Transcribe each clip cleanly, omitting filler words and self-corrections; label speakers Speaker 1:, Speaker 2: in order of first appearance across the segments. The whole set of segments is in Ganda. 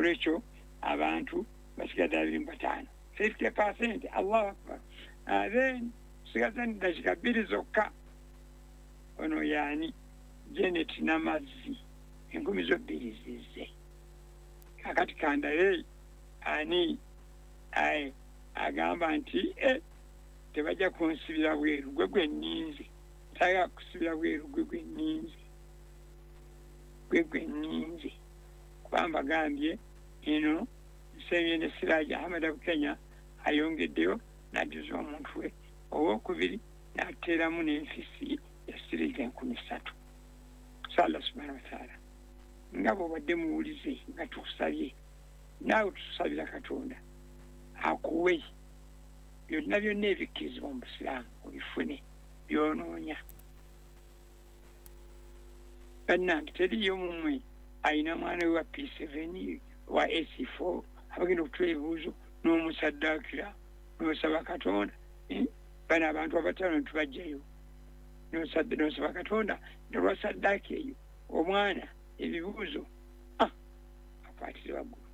Speaker 1: Nolwekyo abantu basigadde 25, 50%. Allahu akbar. Then tusigaza dakiika 2 zokka. Ono yaani Janet Namazzi, 2,000 zo zize. Kakati kandabe ani aye agamba nti tebajja kunsibira bweru gwe gwe nninze, tagala kusibira bweru gwe gwe nninze, gwe gwe nninze. Kuba mbagambye eno nsembye ne Siraji Ahmed Abukenya ayongeddeyo n'ajjuza omuntu we owokubiri n'ateeramu n'enfisi ya siringi 3,000. So Allah subhanahu wa ta'ala, nga bw'obadde muwulize nga tukusabye, naawe tutusabira Katonda akuwe byonna byonna ebikkirizibwa mu Busiraamu obifune by'onoonya. Bannange teriiyo mumwe ayina mwana we wa P7 wa AC4 abagenda okutula ebibuuzo n'omusaddaakira n'osaba Katonda. Bano abantu abataano tubajjayo n'osaba Katonda nolwa saddaaka eyo omwana ebibuuzo akwatire waggulu.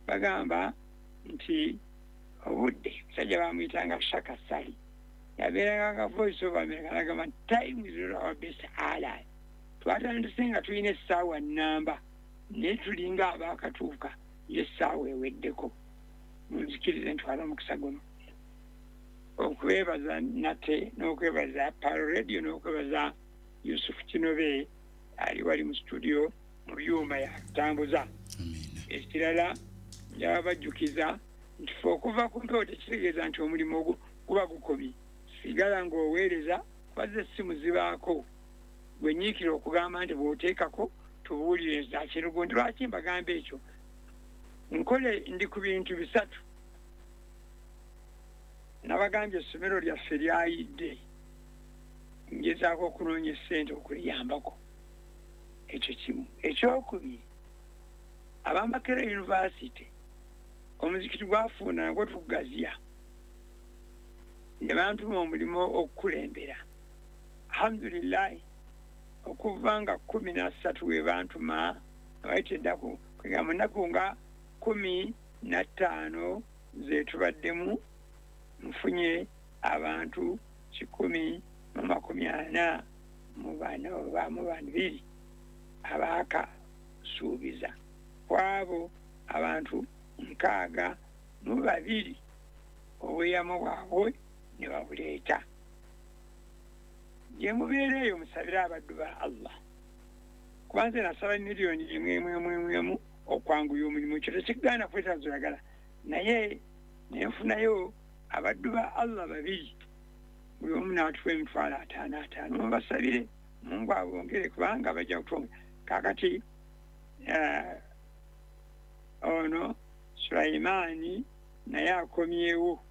Speaker 1: Bagamba nti obudde musajja bamuyitanga Shaka Sali, yabeeranga nga Voice of America, n'agamba nti time is not our best ally. Twatandise nga tulina essaawa nnamba naye tulinga abaakatuuka y'essaawa eweddeko. Munzikirize ntwale omukisa guno okwebaza nate n'okwebaza Pearl Radio n'okwebaza Yusuf Kinobe ali wali mu studio mu byuma yatambuza. Ekirala njaba bajjukiza nti ffe okuva ku mpewo tekitegeeza nti omulimu ogwo guba gukomye. Sigala ng'oweereza, kubaza essimu zibaako. Gwe nyiikira okugamba nti bw'oteekako tubuulire zakirugundi. Lwaki mbagamba ekyo? Nkole ndi ku bintu bisatu. Nabagambye essomero lyaffe lyayidde, ngezaako okunoonya essente okuliyambako. Ekyo kimu. Ekyokubiri, ab'Amakerere University omuzikiti gwafuuna nagwo tugugaziya, ne bantuma omulimu okukulembera. Alhamdulillahi, okuva nga 13 we bantuma, abayita ennaku kwegamba nnaku nga 15 ze tubaddemu, nfunye abantu 144 oba mu 2 abaakasuubiza. Kwabo abantu 62 obweyamo bwabwe ne babuleeta. Gye mubeera eyo musabire abaddu ba Allah, kuba nze nasaba miliyoni 1 okwanguya omulimu. Ekyo tekigaana kwetaaza oyagala, naye nenfunayo abaddu ba Allah 2, buli omu n'atuwa emitwalo 5 5. Mubasabire Mungu abongere kubanga bajja kutwongera. Kaakati ono Sulaimaani naye akomyewo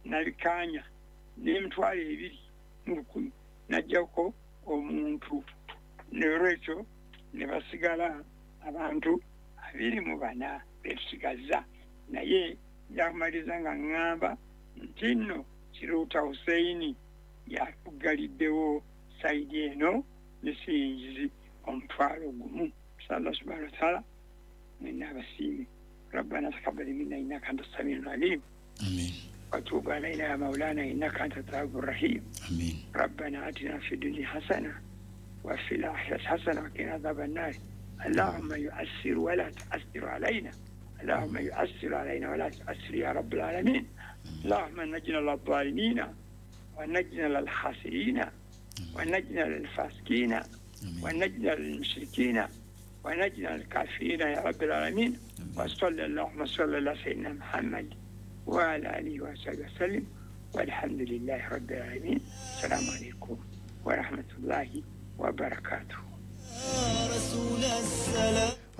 Speaker 1: nabikaanya n'emitwalo 2,000 n'ajjako omuntu. N'olwekyo ne basigala abantu 24 betusigazza. Naye nja kumaliriza nga ŋŋamba nti nno Kiruuta Husseini yatuggaliddewo sayidi eno ne siyingizi 1,000. Allah subhanahu wa ta'ala mwenna abasiime. Rabbana taqabbal minna innaka anta as-sami'ul alim.
Speaker 2: Amin.
Speaker 1: Wa tub alayna ya maulana innaka anta at-tawwabur rahim.
Speaker 2: Amin.
Speaker 1: Rabbana atina fid dunya hasana wa fil akhirati hasana wa qina adhaban nar. Allahumma yu'assir wa la tu'assir alayna. Allahumma yu'assir alayna wa la tu'assir ya rabbil alamin. Allahumma najina lil-zalimina wa najina lil-khasirina wa najina lil-fasiqina wa najina lil-mushrikina wa najina lil-kafirina ya rabbil alamin. Wa sallallahu wa ala sayyidina Muhammad wa ala alihi wa sahbihi wa sallim. Walhamdulillahi rabbil alamin. Assalamu alaykum wa rahmatullahi wa barakatuh.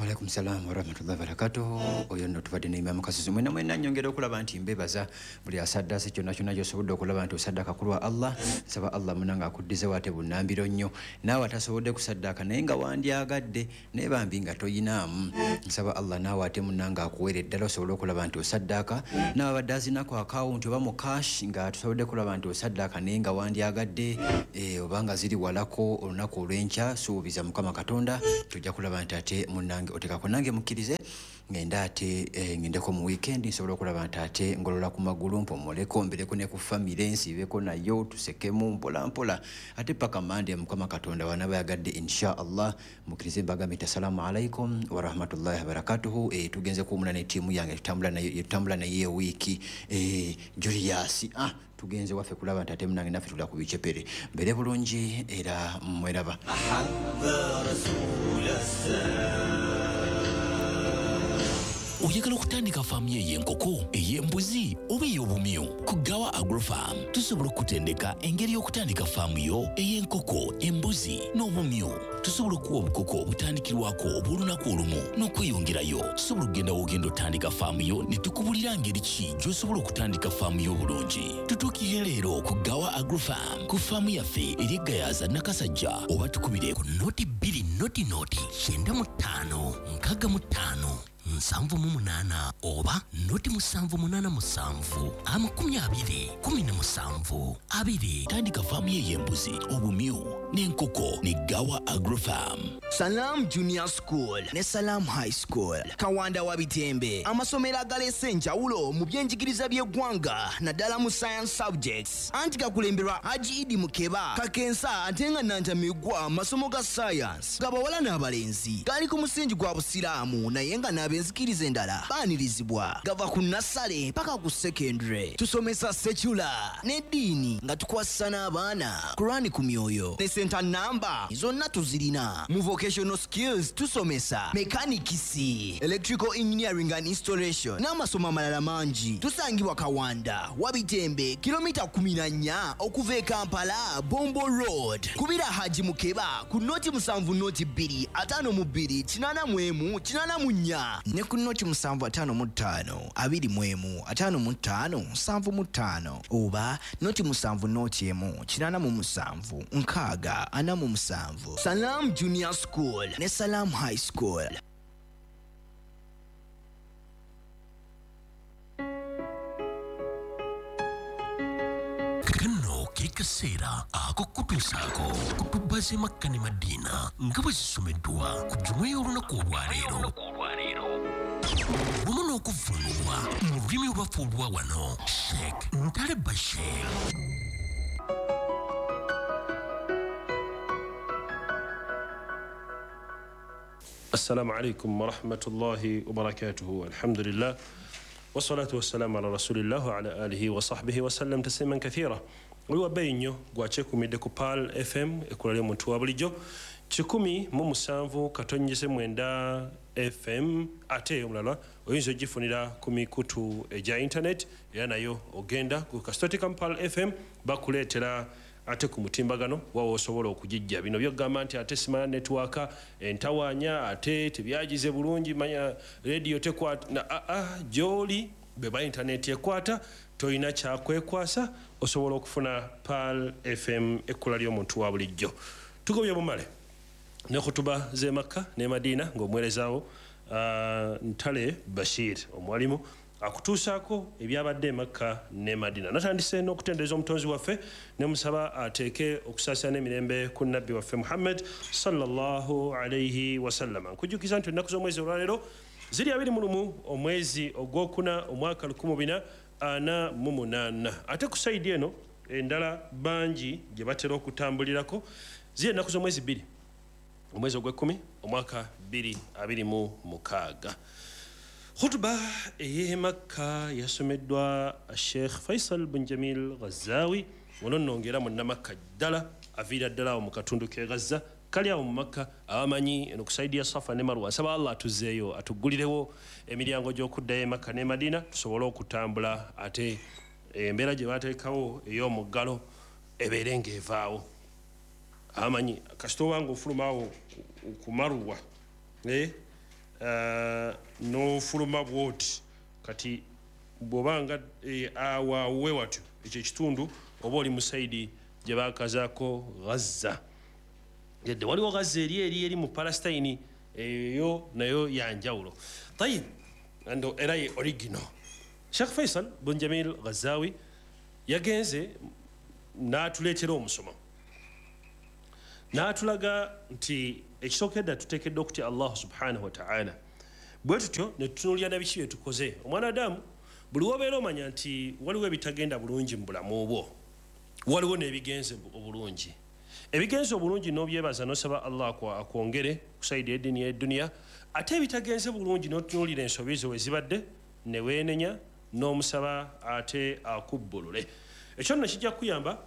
Speaker 2: Waalaikum salam warahmatullahi wabarakatuh. Oyo nno tubadde ne Imam Kasisi. Mwenna mwenna nnyongera okulaba nti mbebaza buli asaddaase kyonna kyonna gy'osobodde okulaba nti osaddaaka ku lwa Allah. Nsaba Allah munange akuddizewo ate bunnambiro nnyo. Naawe atasobodde kusaddaaka naye nga wandyagadde naye bambi nga toyinaamu, nsaba Allah naawe ate munnange akuweere ddala osobole okulaba nti osaddaaka. Naawe abadde azinako akawunti oba mu cash nga tusobodde kulaba nti osaddaaka naye nga wandyagadde oba nga ziri walako olunaku olw'enkya, suubiza Mukama Katonda tujja kulaba nti ate munnange munange otekako nange mukkirize ngenda ate ngendeko mu weekend nsobola okulaba nti ate ngolola ku magulu mpomoleko mbireko ne ku family nsibeko nayo tusekemu mpola mpola ate paka Mande Mukama Katonda wanaba yagadde insha Allah. Mukkirize mbagambe nti assalamu alaikum wa rahmatullahi wa barakatuhu. Tugenze kuwumula ne ttiimu yange tutambula naye wiiki Julius tugenze waffe kulaba nti ate munange naffe tula ku bicepere mbere bulungi era mweraba.
Speaker 3: Oyagala okutandika faamu ey'enkoko, ey'embuzi oba ey'obumyu? Ku Gawa Agrofarm tusobola okutendeka engeri y'okutandika faamu yo ey'enkoko, embuzi n'obumyu. Tusobola okuwa obukoko obutandikirwako obw'olunaku olumu n'okweyongerayo. Tusobola okugenda w'ogenda otandika faamu yo ne tukubulira ngeri ki gy'osobola okutandika faamu yo obulungi. Tutuukirire leero ku Gawa Agrofarm ku faamu yaffe eri e Gayaza Nakasajja oba tukubire ku 0 2 0 0 95 65 78 oba 0 787 20 17 2. Tandika faamu y'embuzi, obumyu n'enkoko ne Gawa Agrofarm.
Speaker 4: Salam Junior School ne Salam High School Kawanda wa Bitembe, amasomero agaleese enjawulo mu byenjigiriza by'eggwanga naddala mu science subjects, anti gakulemberwa Haji Idi Mukeba Kakensa ate nga Nantamigwa. Amasomo ga science gabawala n'abalenzi gali ku musingi gwa Busiraamu naye nga n'abenzikiriza endala baanirizibwa. Gava ku nursery paka ku secondary. Tusomesa secular n'eddiini nga tukwasisa n'abaana Kurani ku myoyo ne center number zonna tuzirina. Mu vocational skills tusomesa mechanics, electrical engineering and installation n'amasomo amalala mangi. Tusangibwa Kawanda Wabitembe, kilomita 14 okuva e Kampala, Bombo Road. Kubira Haji Mukeba ku 0 7 0 2 52 81 84 ne ku 0 755 21 55 75 oba 0 7 0 1 87 6 47. Salam Junior School ne Salam High School.
Speaker 3: Kano ke kaseera ak'okutuusaako kutuba z'e Makka ne Madiina nga bwe zisomeddwa ku jjuma y'olunaku olwaleero wamu n'okuvvuunulwa mu lulimi olwaffe olwa wano, Sheikh Ntale Bashir.
Speaker 5: السلام عليكم ورحمة الله وبركاته. الحمد لله والصلاة والسلام على رسول الله وعلى آله وصحبه وسلم تسليما كثيرا. Oli wabbeeyi nnyo gwakyekuumidde ku Pearl FM ekkula ly'omuntu wa bulijjo 107.9 FM, ate omulala oyinza ogifunira ku mikutu egya internet era nayo ogenda ku kasitotika Pearl FM bakuleetera ate ku mutimbagano wawa osobola okugijja. Bino byogamba nti ate simanya network entawaanya ate tebyagize bulungi, manya radio tekwata na gy'oli beba internet ekwata, tolina kyakwekwasa, osobola okufuna Pearl FM ekkula ly'omuntu wa bulijjo. Tugobye bumale ne khutuba z'e Makka ne Madina ng'omuweerezaawo Ntale Bashir omwalimu akutuusaako ebyabadde e Makka ne Madina. Natandise n'okutendereza omutonzi waffe ne musaba ateeke okusaasira n'emirembe ku nabbi waffe Muhammad sallallahu alayhi wasallama. Nkujjukiza nti ennaku z'omwezi olwaleero ziri 21 omwezi ogwokuna omwaka 1448, ate ku sayidi eno endala bangi gye batera okutambulirako ziri ennaku z'omwezi 2 omwezi ogw'ekkumi omwaka 2026. Khutuba ey'e Makka yasomeddwa Sheikh Faisal bin Jamil Ghazawi, ono nno ng'era munnamakka ddala, aviira ddala awo mu katundu k'e Gaza kali awo mu Makka, abamanyi eno ku sayidi ya Safa ne Marwa. Nsaba Allah atuzzeeyo atuggulirewo emiryango gy'okuddayo e Makka ne Madina tusobole okutambula, ate embeera gye bateekawo ey'omuggalo ebeere ng'evaawo. Abamanyi kasita obanga ofuluma awo ku Marwa n'ofuluma bw'oti, kati bw'obanga awo watyo ekyo ekitundu oba oli mu sayidi gye baakazaako Gaza. Yadde waliwo Gaza eri eri mu Palestine, eyo nayo ya njawulo. Tayib, ando era ye original. Sheikh Faisal bin Jamil Ghazawi yagenze n'atuleetera omusomo. N'atulaga nti ekisookedda tuteekeddwa okutya Allah subhanahu wataala. Bwe tutyo ne tutunuulira na biki bye tukoze. Omwana Adamu, buli wobeera omanya nti waliwo ebitagenda bulungi mu bulamu bwo, waliwo n'ebigenze obulungi. Ebigenze obulungi n'obyebaza n'osaba Allah akwongere ku sayidi y'eddiini y'edduniya, ate ebitagenze bulungi n'otunuulira ensobi zo we zibadde ne weenenya n'omusaba ate akubbulule. Ekyo nno kijja kukuyamba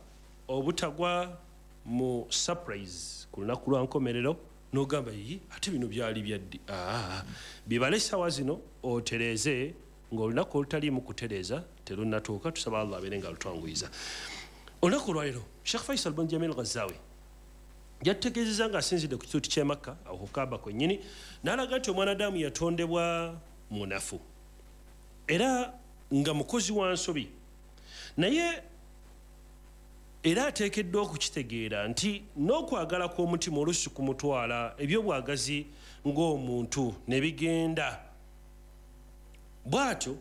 Speaker 5: obutagwa mu surprise ku lunaku lwa nkomerero n'ogamba, yi ate bino byali byaddi. Bibale essaawa zino otereeze ng'olunaku olutaliimu kutereeza terunnatuuka. Tusaba Allah abeere nga alutwanguyiza. Olunaku olwaleero Sheikh Faisal bin Jamil Ghazawi yatutegeezezza ng'asinzidde ku kituuti ky'e Makka awo ku Kaaba kwennyini, n'alaga nti omwana Adamu yatondebwa munafu era nga mukozi wa nsobi, naye era ateekeddwa okukitegeera nti n'okwagala kw'omutima oluusi kumutwala ebyobwagazi ng'omuntu ne bigenda. Bw'atyo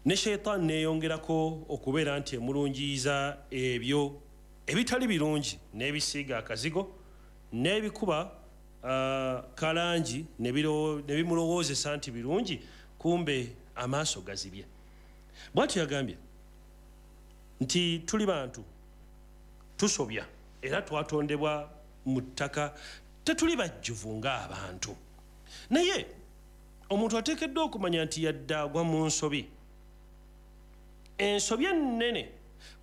Speaker 5: ne sheitaani neeyongerako okubeera nti emulungiyiza ebyo ebitali birungi, n'ebisiiga akazigo n'ebikuba kalangi ne bimulowoozesa nti birungi, kumbe amaaso gazibye. Bw'atyo yagambye nti tuli bantu tusobya era twatondebwa mu ttaka, tetuli bajjuvu ng'abantu. Naye omuntu ateekeddwa okumanya nti yadde agwa mu nsobi, ensobi ennene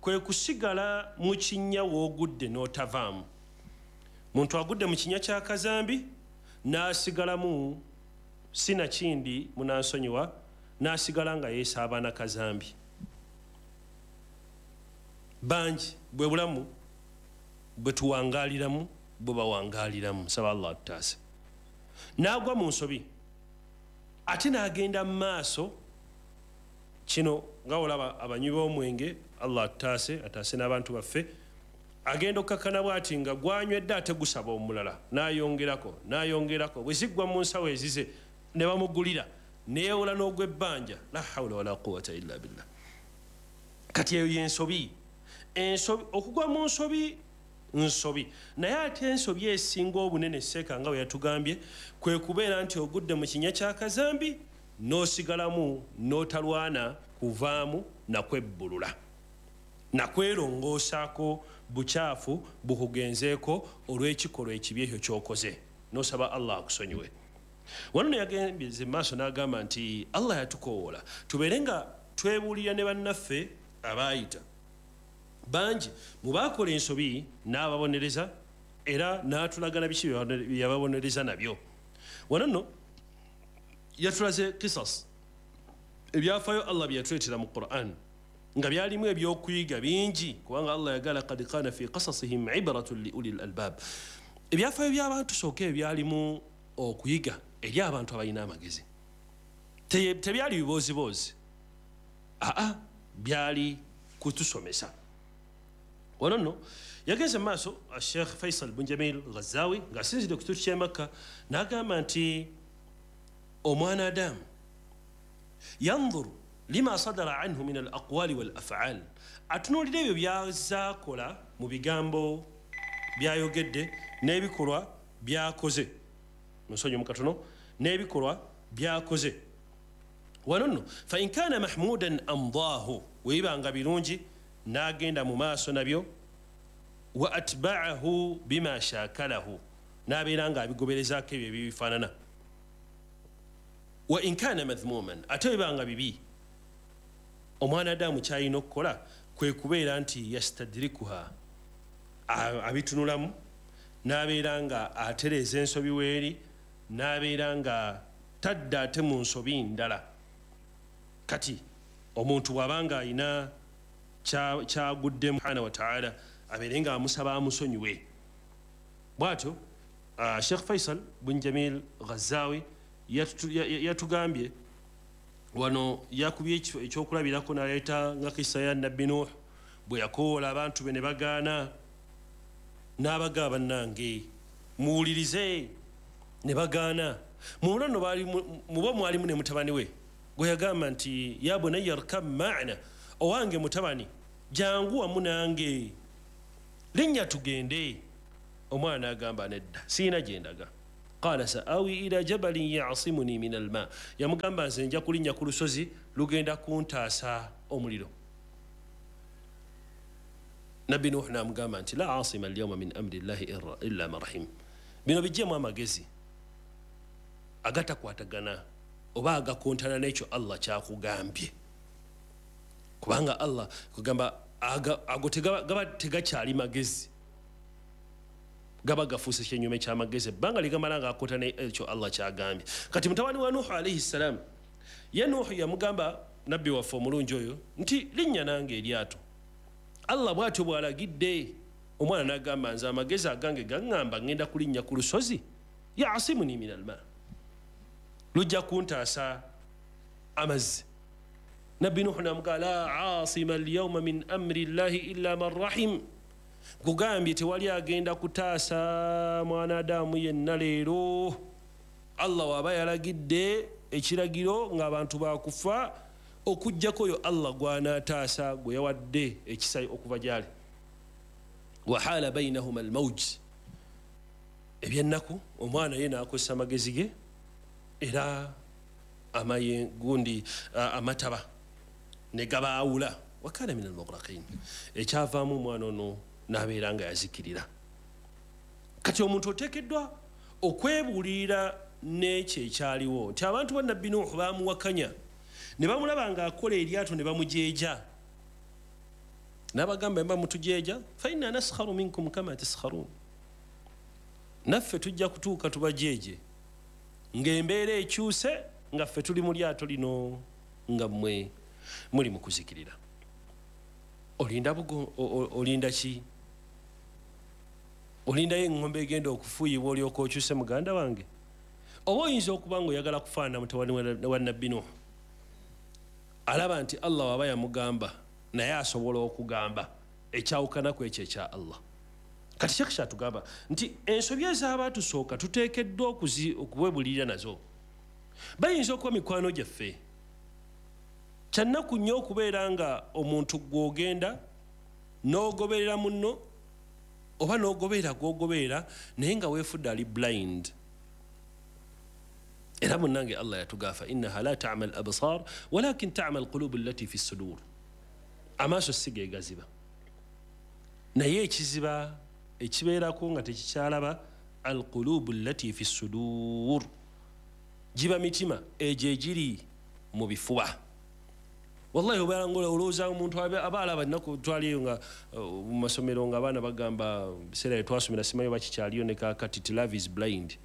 Speaker 5: kwe kusigala mu kinnya w'ogudde n'otavaamu. Muntu agudde mu kinnya kya kazambi n'asigalamu, sinakindi munansonyiwa, n'asigala nga yeesaaba na kazambi. Bangi bwe bulamu bwe tuwangaaliramu bwe bawangaaliramu, nsaba Allah atutaase. N'agwa mu nsobi ate n'agenda mu maaso. Kino nga olaba abanywi b'omwenge, Allah atutaase, ataase n'abantu baffe. Agenda okkakkana bw'ati nga gwanywedde ate gusaba omulala, n'ayongerako n'ayongerako, bwe ziggwa mu nsawo ezize ne bamugulira, neyewola n'ogw'ebbanja. La hawula wala quwata illa billah. Kati eyo y'ensobi. Ensobi, okugwa mu nsobi nsobi, naye ate ensobi esinga obunene seeka nga bwe yatugambye kwe kubeera nti ogudde mu kinnya kya kazambi n'osigalamu n'otalwana kuvaamu nakwebbulula nakwerongoosaako bukyafu bukugenzeeko olw'ekikolwa ekibi ekyo ky'okoze, n'osaba Allah akusonyiwe. Wano ne yagembye maaso n'agamba nti Allah yatukowoola tubeere nga twebuulira ne bannaffe abaayita. Bangi mu baakola ensobi n'ababonereza era n'atulaga biki bye yababonereza nabyo. Wano nno yatulaze kisas, ebyafaayo Allah bye yatuleetera mu Quran nga byalimu ebyokuyiga bingi, kubanga Allah yagala qad kana fi qasasihim ibratun li ulil albab. Ebyafaayo by'abantu sooka ebyalimu okuyiga eri abantu abalina amagezi, tebyali bibooziboozi, aa byali kutusomesa. Wano nno yagenze maaso Sheikh Faisal bin Jamil Ghazawi ng'asinzidde ku kituuti ky'e Makka n'agamba nti omwana Adamu yanzuru lima sadara anhu min al aqwali wal af'al, atunuulira ebyo by'azaakola mu bigambo by'ayogedde n'ebikolwa by'akoze. Nsonyi mukatono, n'ebikolwa by'akoze. Wano nno fa in kana mahmudan amdaahu, weebanga birungi n'agenda mu maaso nabyo, wa atba'ahu bima shakalahu, n'abeera ng'abigoberezaako ebyo ebibifaanana. Wa in kana madhmuman, ate webanga bibi, omwana Adamu ky'alina okukola kwe kubeera nti yastadrikuha, abitunulamu n'abeera nga atereeza ensobi weeri, n'abeera nga tadda ate mu nsobi ndala. Kati omuntu bw'abanga alina kyaguddemu subhanahu wa ta'ala, abeere nga amusaba amusonyiwe. Bw'atyo Sheikh Faisal bin Jamil Ghazawi yatugambye wano, yakubye ekyokulabirako n'aleeta nga kisa ya Nabbi Nuh bwe yakoola abantu be ne bagaana, n'abagamba bannange muwulirize, ne bagaana. Mu nno mubo mwalimu ne mutabani we gwe yagamba nti ya bunayya rkab ma'ana, owange mutabani jangu wamu nange, linnya tugende. Omwana n'agamba nedda, siina gye ndaga. Qala saawi ila jabalin yasimuni min alma, yamugamba nze nja kulinnya ku lusozi lugenda kuntaasa omuliro. Nabbi Nuhu n'amugamba nti la asima alyawma min amri llahi illa man rahim. Bino bijjemu amagezi agatakwatagana oba agakontana n'ekyo Allah kyakugambye, kubanga Allah kugamba ago gaba tegakyali magezi, gaba gafuuse kyenyume ky'amagezi ebbanga ligamala nga akontana ekyo Allah kyagambye. Kati mutabani wa Nuhu alayhi salam, ye Nuhu yamugamba nabbi waffe omulungi oyo nti linnya nange eryato, Allah bw'atyo bw'alagidde. Omwana n'agamba nze amagezi agange gaŋŋamba ŋŋenda kulinnya ku lusozi, yasimuni min alma, lujja kuntaasa amazzi. Nabbi Nuhu n'amugamba la asima alyawma min amri llahi illa man rahim, kugambye tewali agenda kutaasa mwanadamu yenna leero. Allah waba yalagidde ekiragiro ng'abantu bakufa, okuggyako oyo Allah gw'anaataasa gwe yawadde ekisa okuva gy'ali. Wahala bainahuma almawj, ebyennaku omwana ye n'akozesa amagezi ge era gundi amataba ne gabaawula. Wakana min almughraqin, ekyavaamu omwana ono n'abeera nga yazikirira. Kati omuntu oteekeddwa okwebuulirira n'ekyo ekyaliwo nti abantu ba Nabbi Nuhu baamuwakanya ne bamulaba ng'akola eryato ne bamujeeja, n'abagamba mba mutujeeja, fa inna naskharu minkum kama taskharun, naffe tujja kutuuka tubajeeje ng'embeera ekyuse nga ffe tuli mu lyato lino nga mmwe muli mu kuzikirira. Olinda olinda ki? Olindayo eŋŋombe egenda okufuuyibwa olyoka okyuse muganda wange? Oba oyinza okuba ng'oyagala kufaanana mutabani wa Nabbi Nuhu, alaba nti Allah waba yamugamba naye asobola okugamba ekyawukana ku ekyo ekya Allah. Kati Sheikh kyatugamba nti ensobi ez'abaatusooka tuteekeddwa okuwebulirira nazo. Bayinza okuba mikwano gyaffe. Kyannaku nnyo okubeera nga omuntu gw'ogenda n'ogoberera munno oba n'ogoberera gw'ogoberera naye nga weefudde ali blind. Era munnange Allah yatugamba innaha la ta'ma al-absar walakin ta'ma al-qulub allati fi as-sudur. Amaaso si ge gaziba, naye ekiziba ekibeerako nga tekikyalaba al-qulub allati fi as-sudur, giba mitima egyo egiri mu bifuba. Wallahi obeera ng'olowooza omuntu aba alaba ennaku twaliyo nga mu masomero nga abaana bagamba biseera bye twasomera simanyi oba kikyaliyo ne kaakati ti love is blind.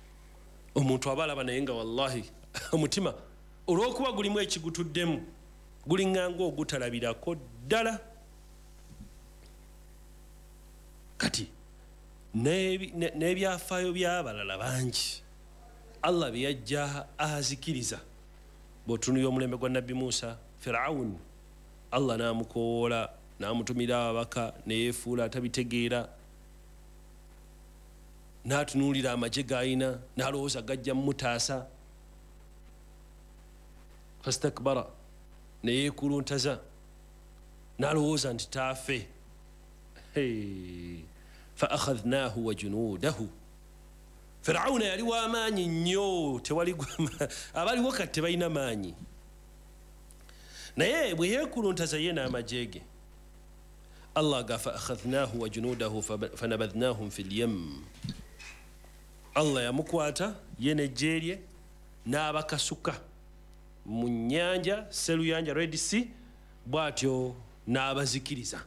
Speaker 5: Omuntu aba alaba naye nga wallahi omutima olw'okuba gulimu ekigutuddemu guliŋŋanga ogutalabirako ddala. Kati n'ebyafaayo by'abalala bangi Allah bye yajja azikiriza. Bw'otunuulira omulembe gwa Nabbi Musa, Firaun Allah n'amukowoola n'amutumira ababaka ne yeefuula atabitegeera, n'atunuulira amagye g'alina n'alowooza gajja mutaasa. Fastakbara, ne yeekuluntaza n'alowooza nti taafe. Fa akhadhnaahu wa junuudahu. Firauna yali w'amaanyi nnyo, tewali abaliwo kati tebalina maanyi, naye bwe yeekuluntaza ye n'amagye ge Allah ga fa akhadhnaahu wa junuudahu fanabadhnahum fi lyam. Allah yamukwata ye n'eggye lye n'abakasuka mu nnyanja Seruyanja, Red Sea, bw'atyo n'abazikiriza.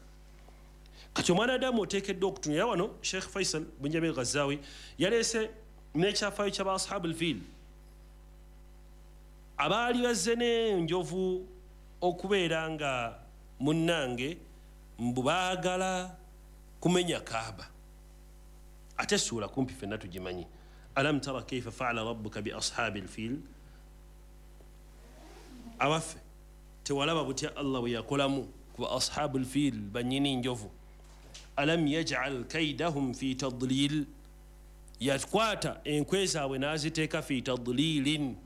Speaker 5: Kati omwana Adamu oteekeddwa okutunulira wano. Sheikh Faisal bin Jamil Ghazawi yaleese n'ekyafaayo ky'aba ashabu al-fil abaali bazze n'enjovu okubeera nga munnange mbu baagala kumenya Kaaba. Ate essuula kumpi ffenna tugimanyi, alam tara kaifa faala rabbuka bi ashabi al-fil. Abaffe tewalaba butya Allah bwe yakolamu ku ashabu al-fil, bannyini njovu. Alam yaj'al kaidahum fi tadlil, yakwata enkwe zaabwe n'aziteeka fi tadlilin,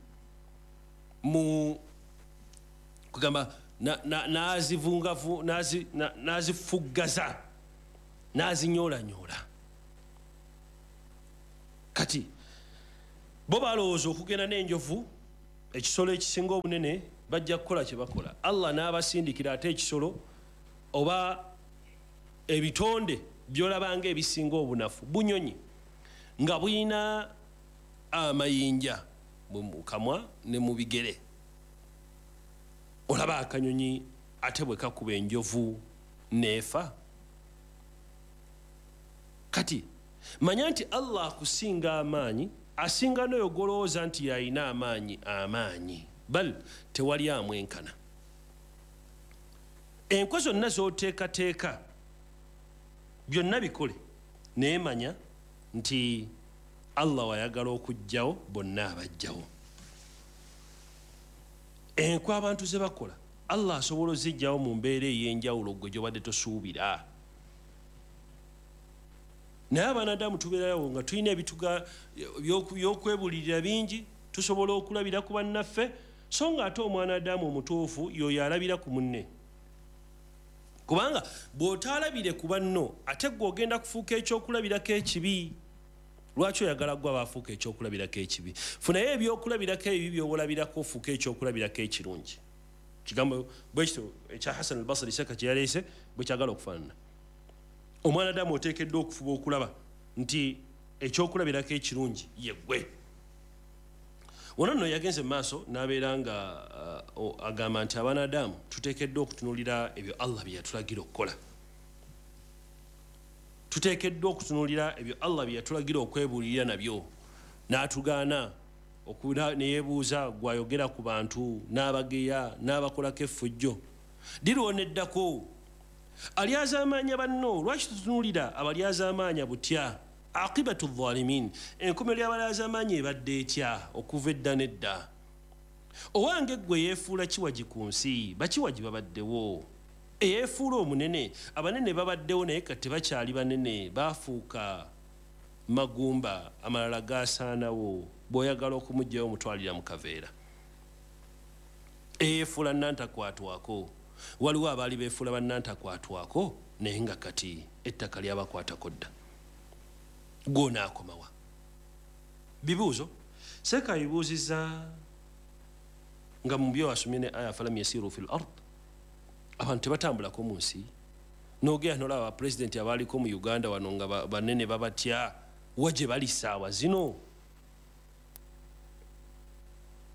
Speaker 5: mu kugamba n'azifuggaza n'azinyoolanyoola. Kati bo balowooza okugenda n'enjovu, ekisolo ekisinga obunene, bajja kukola kye bakola. Allah n'abasindikira ate ekisolo oba ebitonde by'olabanga ebisinga obunafu, bunyonyi nga buyina amayinja mu kamwa ne mu bigere. Olaba akanyonyi ate bwe kakuba enjovu n'efa. Kati manya nti Allah akusinga amaanyi, asinga n'oyo gw'olowooza nti yalina amaanyi amaanyi, bal tewali amwenkana. Enkwe zonna z'oteekateeka byonna bikole, naye manya nti Allah wayagala okuggyawo bonna abajjawo. Enkwe abantu ze bakola Allah asobola oziggyawo mu mbeera ey'enjawulo gwe gy'obadde tosuubira. Naye abaana tubeerawo nga tulina ebituga by'okwebulirira bingi, tusobola okulabira ku bannaffe, so nga ate omwana Adamu omutuufu y'oyo alabira ku munne. Kubanga bw'otaalabire ku banno, ate ggwe ogenda kufuuka ekyokulabirako ekibi. Lwaki oyagala ggwe abaafuuka ekyokulabirako ekibi? Funayo ebyokulabirako ebibi by'olabirako ofuuke ekyokulabirako ekirungi. Kigambo bwe kityo ekya Hassan al-Basri Seka kye yaleese bwe kyagala okufaanana. Omwana Adamu oteekeddwa okufuba okulaba nti ekyokulabirako ekirungi ye ggwe. Wano nno yagenze mu maaso n'abeera nga agamba nti abaana Adamu tuteekeddwa okutunuulira ebyo Allah bye yatulagira okukola. Tuteekeddwa okutunuulira ebyo Allah bye yatulagira okwebuulirira nabyo, n'atugaana ne yeebuuza gw'ayogera ku bantu n'abageya n'abakolako effujjo. Ddi lw'oneddako? Alyazaamaanya banno, lwaki tutunuulira abalyazaamaanya butya? Aqibatu dhalimin, enkomerero y'abalyazaamaanya ebadde etya okuva edda n'edda? Owange ggwe yeefuula kiwagi ku nsi, bakiwagi babaddewo. Eyeefuula omunene, abanene babaddewo naye kati tebakyali banene, baafuuka magumba, amalala gaasaanawo. Bw'oyagala okumuggyayo omutwalira mu kaveera. Eyeefuula nantakwatwako, waliwo abaali beefuula bannantakwatwako naye nga kati ettaka lyabakwatako dda. Gw'onaakomawa? Bibuuzo seeka bibuuzizza nga mu byo asomye ne aya falam yasiru fil ard, abantu tebatambulako mu nsi. N'ogenda n'olaba bapulezidenti abaaliko mu Uganda wano nga banene babatya, wa gye bali ssaawa zino?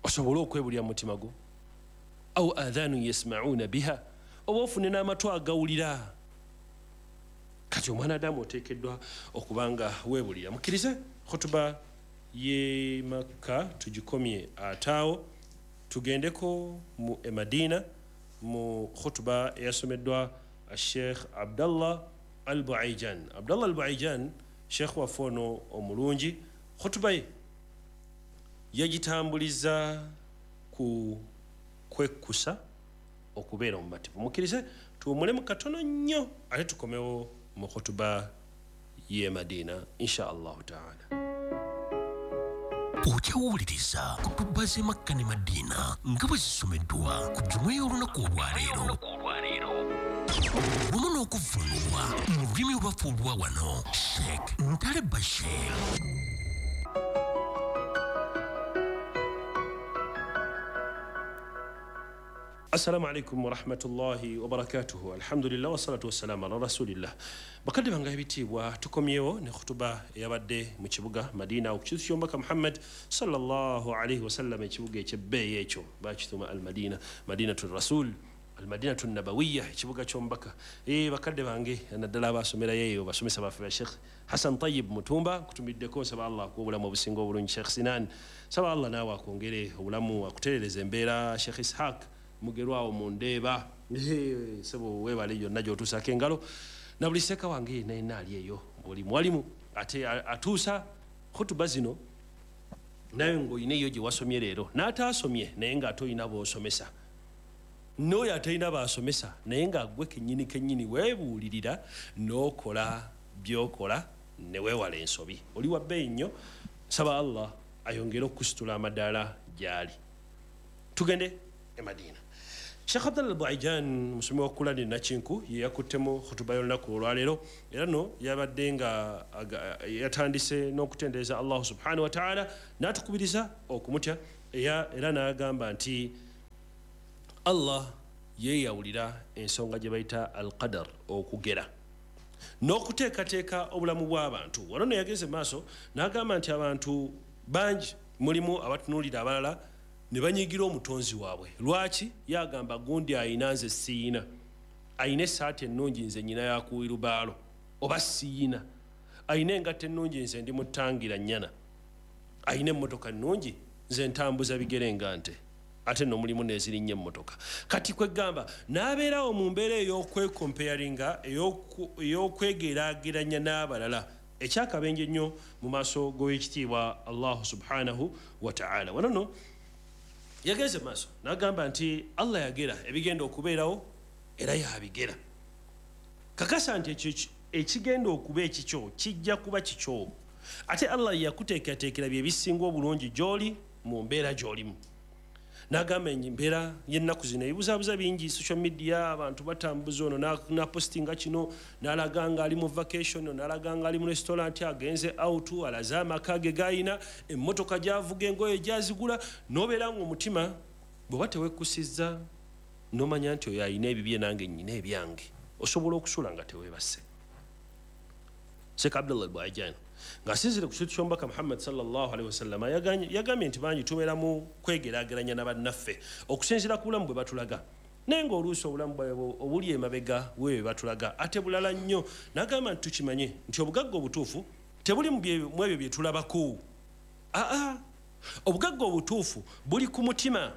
Speaker 5: Osobole okwebulira mu mutima gwo. Au adhanu yasmauna biha, oba ofune n'amatu agawulira. Kati omwana Adamu oteekeddwa okuba nga weebulira. Mukkirize khutuba y'e Makka tugikomye ataawo, tugendeko mu e Madina mu khutuba eyasomeddwa Sheikh Abdallah Al-Buaijan. Abdallah Al-Buaijan Sheikh waffe ono omulungi, khutuba ye yagitambuliza ku kwekkusa okubeera omumativu. Mukkirize tuwummulemu katono nnyo ate tukomewo mu khutuba y'e Madina insha Allahu taala.
Speaker 3: Okyawuliriza khutuba z'e Makka ne Madiina nga bwe zisomeddwa ku Juma y'olunaku olwaleero, wamu n'okuvvuunulwa mu lulimi olwaffe olwa wano, Sheikh Ntale Bashir.
Speaker 5: Assalamu alaikum warahmatullahi wabarakatuhu. Alhamdulillah wassalatu wassalamu ala rasulillah. Bakadde bange ebitiibwa, tukomyewo ne khutuba eyabadde mu kibuga Madina okukizu ky'omubaka Muhammad sallallahu alaihi wasallam, ekibuga ekyebbeeyi ekyo bakituuma Al-Madina, Madinatu Rasul, Al-Madinatu Nabawiya, ekibuga ky'omubaka. Bakadde bange naddala abasomerayo eyo, basomesa baffe ba Sheikh Hassan Tayyib Mutumba, kutumiddeko, nsaba Allah akuwa obulamu obusinga obulungi. Sheikh Sinan, nsaba Allah naawe akwongere obulamu, akutereereze embeera. Sheikh Ishaq Mugerwawo mu Ndeeba, sebo weebale yonna gy'otuusaako engalo, na buli seeka wange yenna yenna ali eyo buli mwalimu ate atuusa khutuba zino, nawe ng'olina eyo gye wasomye leero n'ataasomye naye ng'ate olina b'osomesa, n'oyo atalina b'asomesa naye nga gwe kennyini kennyini weebuulirira n'okola by'okola ne weewala ensobi. Oli wa bbeeyi nnyo, nsaba Allah ayongere okukusitula amadaala gy'ali. Tugende e Madina. Sheikh Abdallah Buaijan musomi wa Kulani Nakinku ye yakuttemu khutuba y'olunaku olwaleero, era no yabadde nga yatandise n'okutendereza Allah subhanahu wa ta'ala n'atukubiriza okumutya, era n'agamba nti Allah yeeyawulira ensonga gye bayita al-qadar, okugera n'okuteekateeka obulamu bw'abantu. Wano no yagenze maaso n'agamba nti abantu bangi mulimu abatunuulira abalala ne banyigira omutonzi waabwe. Lwaki? Yagamba gundi ayina nze siyina, ayina essaati ennungi nze nnyina yakuwirubaalo oba siyina, ayina engatto ennungi nze ndi mutangira nnyana, ayina emmotoka ennungi nze ntambuza bigere nga nte, ate nno mulimu n'ezirinnya emmotoka. Kati kwegamba n'abeerawo mu mbeera ey'okwekomparinga, ey'okwegeraageranya n'abalala, ekyakabenje ennyo mu maaso g'owekitiibwa Allah subhanahu wa ta'ala. Wano nno yagenze maaso n'agamba nti Allah yagera ebigenda okubeerawo era yabigera. Kakasa nti ekyo ekigenda okuba ekikyo kijja kuba kikyo, ate Allah yakuteekateekera bye bisinga obulungi gy'oli mu mbeera gy'olimu. N'agamba embeera y'ennaku zino ebibuzaabuza bingi, social media, abantu batambuza ono n'apostinga kino, n'alaga nga ali mu vacation, n'alaga nga ali mu restaurant, agenze out, alaze amaka ge gayina, emmotoka gy'avuga, engoye gy'azigula, n'obeera ng'omutima bw'oba teweekkusizza n'omanya nti oyo ayina ebibye nange nnyina ebyange, osobola okusula nga teweebase. Sheikh Abdallah Buaijan ng'asinziira ku kintu ky'omubaka Muhammad sallallahu alaihi wasallam yagambye nti bangi tubeera mu kwegeraageranya na bannaffe okusinziira ku bulamu bwe batulaga, naye ng'oluusi obulamu bwabwe obuli emabega weebwe batulaga ate bulala nnyo. N'agamba nti tukimanye nti obugagga obutuufu tebuli mu ebyo bye tulabako, aa obugagga obutuufu buli ku mutima.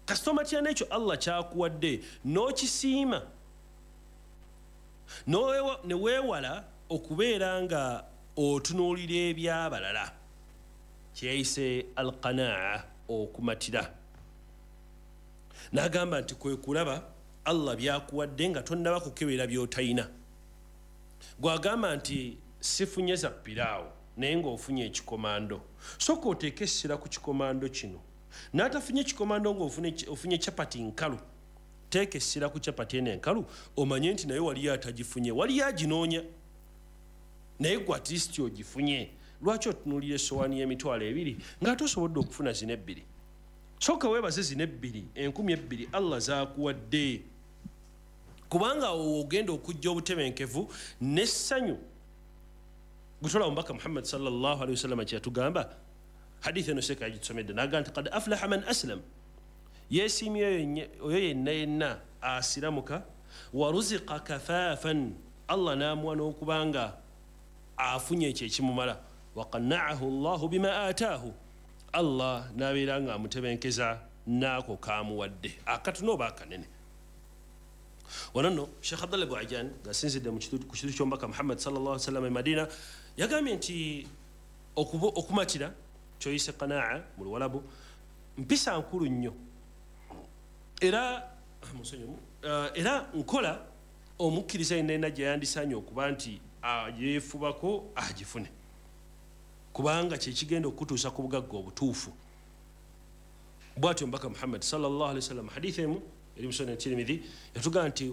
Speaker 5: Kasita omatira n'ekyo Allah ky'akuwadde n'okisiima ne weewala okubeera nga otunuulira ebyabalala, kyeyayise alqanaa, okumatira. N'agamba nti kwe kulaba Allah byakuwadde nga tonnaba kukebera by'otayina. Gw'agamba nti sifunye za piraawo naye ng'ofunye ekikomando, sooka oteeke essira ku kikomando kino. N'atafunye ekikomando ng'ofunye chapati nkalu, teeka essira ku chapati eno enkalu, omanye nti naye waliyo atagifunye, waliyo aginoonya, naye gwe at least ogifunye. Lwaki otunuulira essowaani y'emitwalo 2 ng'ate osobodde okufuna zino 2? Sooka weebaze zino 2, 2000 Allah zaakuwadde, kubanga awo ogenda okujja obutebenkevu n'essanyu. Gutola omubaka Muhammad sallallahu alaihi wasallam kye yatugamba, hadithi eno seeka yagitusomedde, n'agamba nti qad aflaha man aslam, yeesiimye oyo yenna yenna asiramuka, wa ruziqa kafaafan, Allah n'amuwa n'okubanga afunye ekyo ekimumala, wa qanna'ahu Allahu bima ataahu, Allah n'abeera nga amutebenkeza n'ako k'amuwadde, akatono oba akanene. Wano nno Sheikh Abdallah Buaijan ng'asinzidde ku kintu ky'omubaka Muhammad sallallahu alaihi wasallam e Madina yagambye nti okumatira kyoyise qanaa mu Luwalabu mpisa nkulu nnyo, era nkola omukkiriza yenna yenna gye yandisaanye okuba nti yeefubako agifune, kubanga kyekigenda okutuusa ku bugagga obutuufu. Bw'atyo omubaka Muhammad sallallahu alaihi wasallam hadithi emu eri mu Sunan Tirmidhi yatugamba nti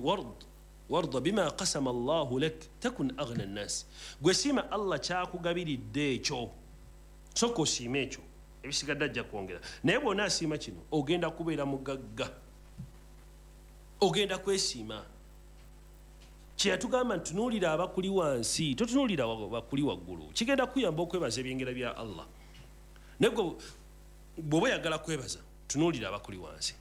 Speaker 5: warda bima qasama Allahu lak takun aghna nnas, gwe siima Allah kyakugabiridde ekyo, sooka osiime ekyo, ebisigadde ajja kwongera, naye bw'onaasiima kino ogenda kubeera mugagga, ogenda kwesiima. Kye yatugamba nti tunuulira abakuli wansi, totunuulira bakuli waggulu, kigenda kuyamba okwebaza ebyengera bya Allah. Naye gwe bw'oba oyagala kwebaza, tunuulira abakuli wansi.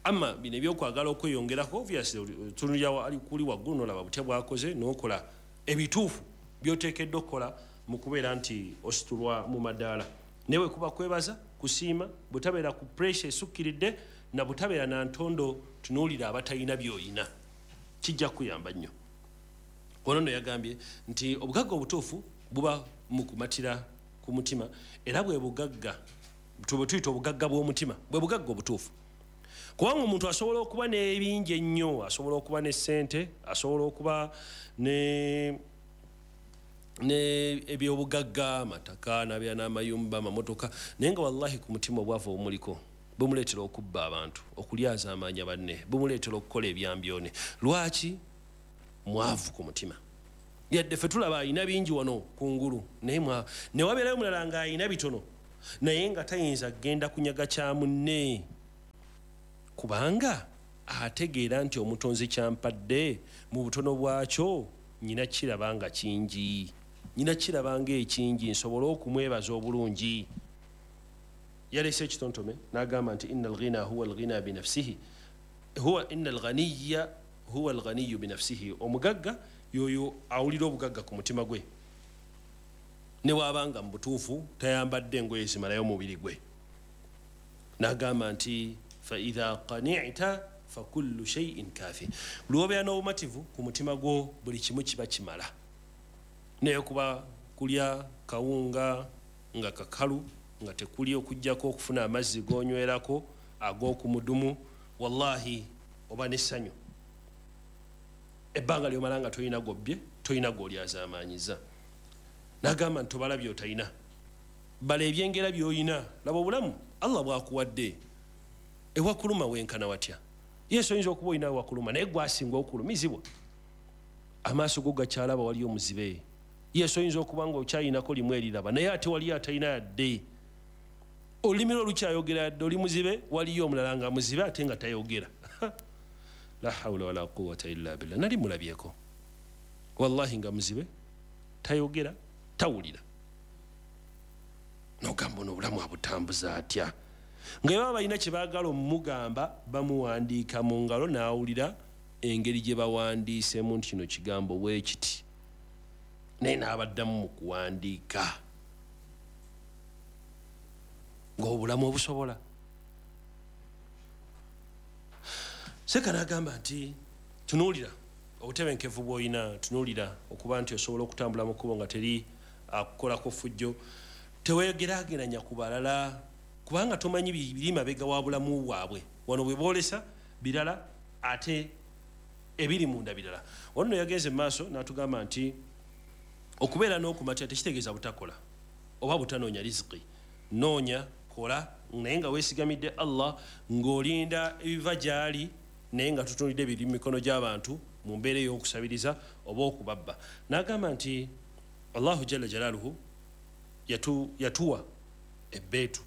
Speaker 5: Amma bino ebyokwagala okweyongerako, obviously otunuulira ali kuli waggulu n'olaba butya bw'akoze, n'okola ebituufu by'oteekeddwa okukola mu kubeera nti ositulwa mu madaala. Naye bwe kuba kwebaza, kusiima, butabeera ku pressure esukkiridde, na butabeera na ntondo, tunuulira abatalina by'oyina, kijja kuyamba nnyo. Ono nno yagambye nti obugagga obutuufu buba mu kumatira ku mutima, era bwe bugagga bwe tuyita obugagga bw'omutima, bwe bugagga obutuufu. Kubanga omuntu asobola okuba n'ebingi ennyo, asobola okuba ne ssente, asobola okuba ne ebyobugagga, amataka, n'abeera n'amayumba, amamotoka, naye nga wallahi ku mutima obwavu obumuliko Bumuleetera okubba abantu, okulyazaamaanya banne, bumuleetera okukola ebyambyone. Lwaki? Mwavu ku mutima. Yadde ffe tulaba alina bingi wano kungulu, naye ne wabeerayo omulala ng'alina bitono, naye nga tayinza kugenda kunyaga kya munne, kubanga ategeera nti omutonzi kyampadde mu butono bwakyo nyina kiraba nga kingi, nyina kiraba nga ekingi, nsobole okumwebaza obulungi. Yalese ekitontome n'agamba nti inna alghina huwa alghina binafsihi, huwa inna alghaniya huwa alghaniyu binafsihi. Omugagga yoyo awulira obugagga ku mutima gwe, ne bw'abanga mu butuufu tayambadde engoye zimalayo omubiri gwe. N'agamba nti fa idha qani'ta fa kullu shay'in kafi. Lw'obeera n'obumativu ku mutima gwo, buli kimu kiba kimala. Naye kuba kulya kawunga nga kakalu, nga tekuli okuggyako okufuna amazzi g'onywerako ag'okumudumu, wallahi oba n'essanyu. Ebbanga ly'omala nga tolina gobbye, tolina g'olyazaamaanyiza. N'agamba nti tobala by'otalina, bala ebyengera by'olina. Laba obulamu Allah bw'akuwadde, ewakuluma wenkana watya. Yesu oyinza okuba olina ewakuluma, naye gwasinga okulumizibwa. Amaaso go gakyalaba, waliyo omuzibe. Yesu oyinza okuba nga okyayinako limu eriraba, naye ate waliyo atalina yadde. Olulimi lwo lukyayogera yadde oli muzibe, waliyo omulala nga muzibe ate nga tayogera. La hawula wala quwwata illa billah. Nali mulabyeko wallahi nga muzibe, tayogera, tawulira. Nogamba ono obulamu abutambuza atya? Nga baba balina kye baagala omugamba, bamuwandiika mu ngalo n'awulira engeri gye bawandiisemu nti kino kigambo bwe kiti, naye n'abaddamu mu kuwandiika. Ng'obulamu obusobola. Seka n'agamba nti tunuulira obutebenkevu bw'olina, tunuulira okuba nti osobola okutambula mu kkubo nga teri akukolako ffujjo. Teweegeraageranya ku balala, kubanga tomanyi biri mabega wa bulamu bwabwe. Wano bwe boolesa birala, ate ebiri munda birala. Wano nno yagenze mu maaso n'atugamba nti okubeera n'okumatira tekitegeeza butakola oba butanoonya riziki. Noonya, kola, naye nga weesigamidde Allah, ng'olinda ebiva gy'ali, naye nga tutunulidde biri mu mikono gy'abantu mu mbeera ey'okusabiriza oba okubabba. N'agamba nti Allahu jalla jalaaluhu yatuwa ebbeetu,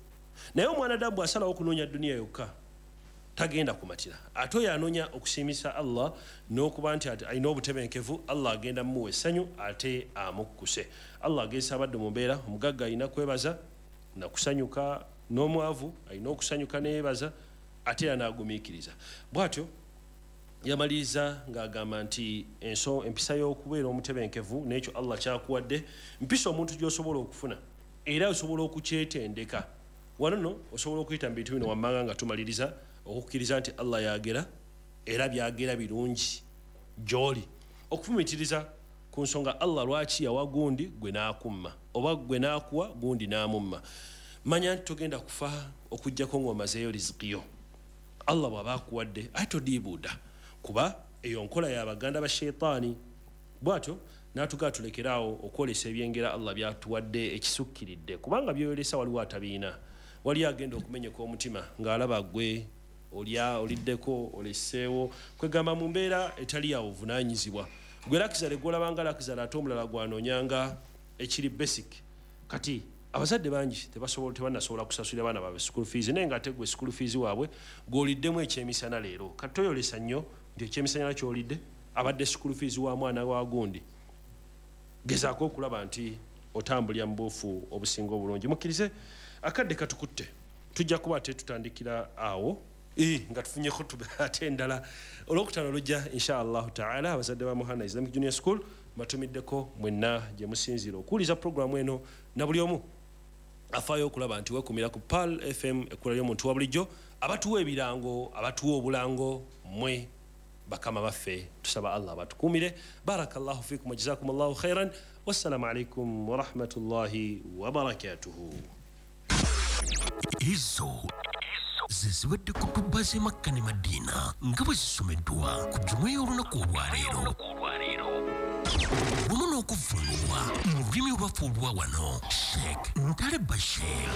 Speaker 5: naye omwana damu bw'asalawo okunoonya duniya yokka tagenda kumatira. Ate oyo anoonya okusiimisa Allah n'okuba nti alina obutebenkevu, Allah agenda mumuwa essanyu ate amukkuse. Allah agezesa abadde mu mbeera, omugagga alina kwebaza nakusanyuka, n'omwavu alina okusanyuka neyebaza, ate era n'agumiikiriza. Bw'atyo yamaliriza ng'agamba nti empisa y'okubeera omutebenkevu n'ekyo Allah kyakuwadde, mpisa omuntu gy'osobola okufuna era osobola okukyetendeka. Wano nno osobola okuyita mu bintu bino wammanga nga tumaliriza okukkiriza nti Allah yagera era byagera birungi gy'oli. Okufumiitiriza ku nsonga Allah lwaki yawa gundi gwe n'akumma, oba gwe n'akuwa gundi n'amumma. Manya nti togenda kufa okuggyako ng'omazeeyo riziki yo. Allah bw'aba akuwadde ate todiibuuda, kuba eyo nkola ya baganda ba sheitaani. Bw'atyo n'atugaa tulekeraawo okwolesa ebyengera Allah byatuwadde ekisukkiridde, kubanga by'oyolesa waliwo atabiina. Waliyo agenda okumenyeka omutima ng'alaba gwe olya oliddeko oleseewo, kwegamba mu mbeera etali ya buvunaanyizibwa. Gwe lakizale gw'olabanga lakizale, ate omulala gw'anoonyanga ekiri basic. Kati abazadde bangi tebannasobola kusasulira baana baabwe school fees, naye ng'ate gwe school fees waabwe gw'oliddemu ekyemisana leero. Kati toyolesa nnyo nti ekyemisana ky'olidde abadde school fees wa mwana wa gundi. Gezaako okulaba nti otambulira mu buufu obusinga obulungi. Mukkirize akadde katukutte, tujja kuba ate tutandikira awo nga tufunyeko ate endala olwokutaano lujja insha Allahu taala. Abazadde ba Muhana Islamic Junior School batumiddeko mwenna gye musinziira okuwuliza puroguramu eno, na buli omu afaayo okulaba nti weekumira ku Pearl FM, ekkula ly'omuntu wa bulijjo, abatuwa ebirango, abatuwa obulango, mmwe bakama baffe. Tusaba Allah abatukuumire. Barakallahu fikum wa jazakumullahu khairan. Wassalamu alaikum warahmatullahi wabarakatuhu.
Speaker 3: Ezo ze zibadde kutuba z'e Makka ne Madiina nga bwe zisomeddwa ku jjuma y'olunaku olwaleero, wamu n'okuvvuunulwa mu lulimi olwaffe olwa wano, Sheikh Ntale Bashir.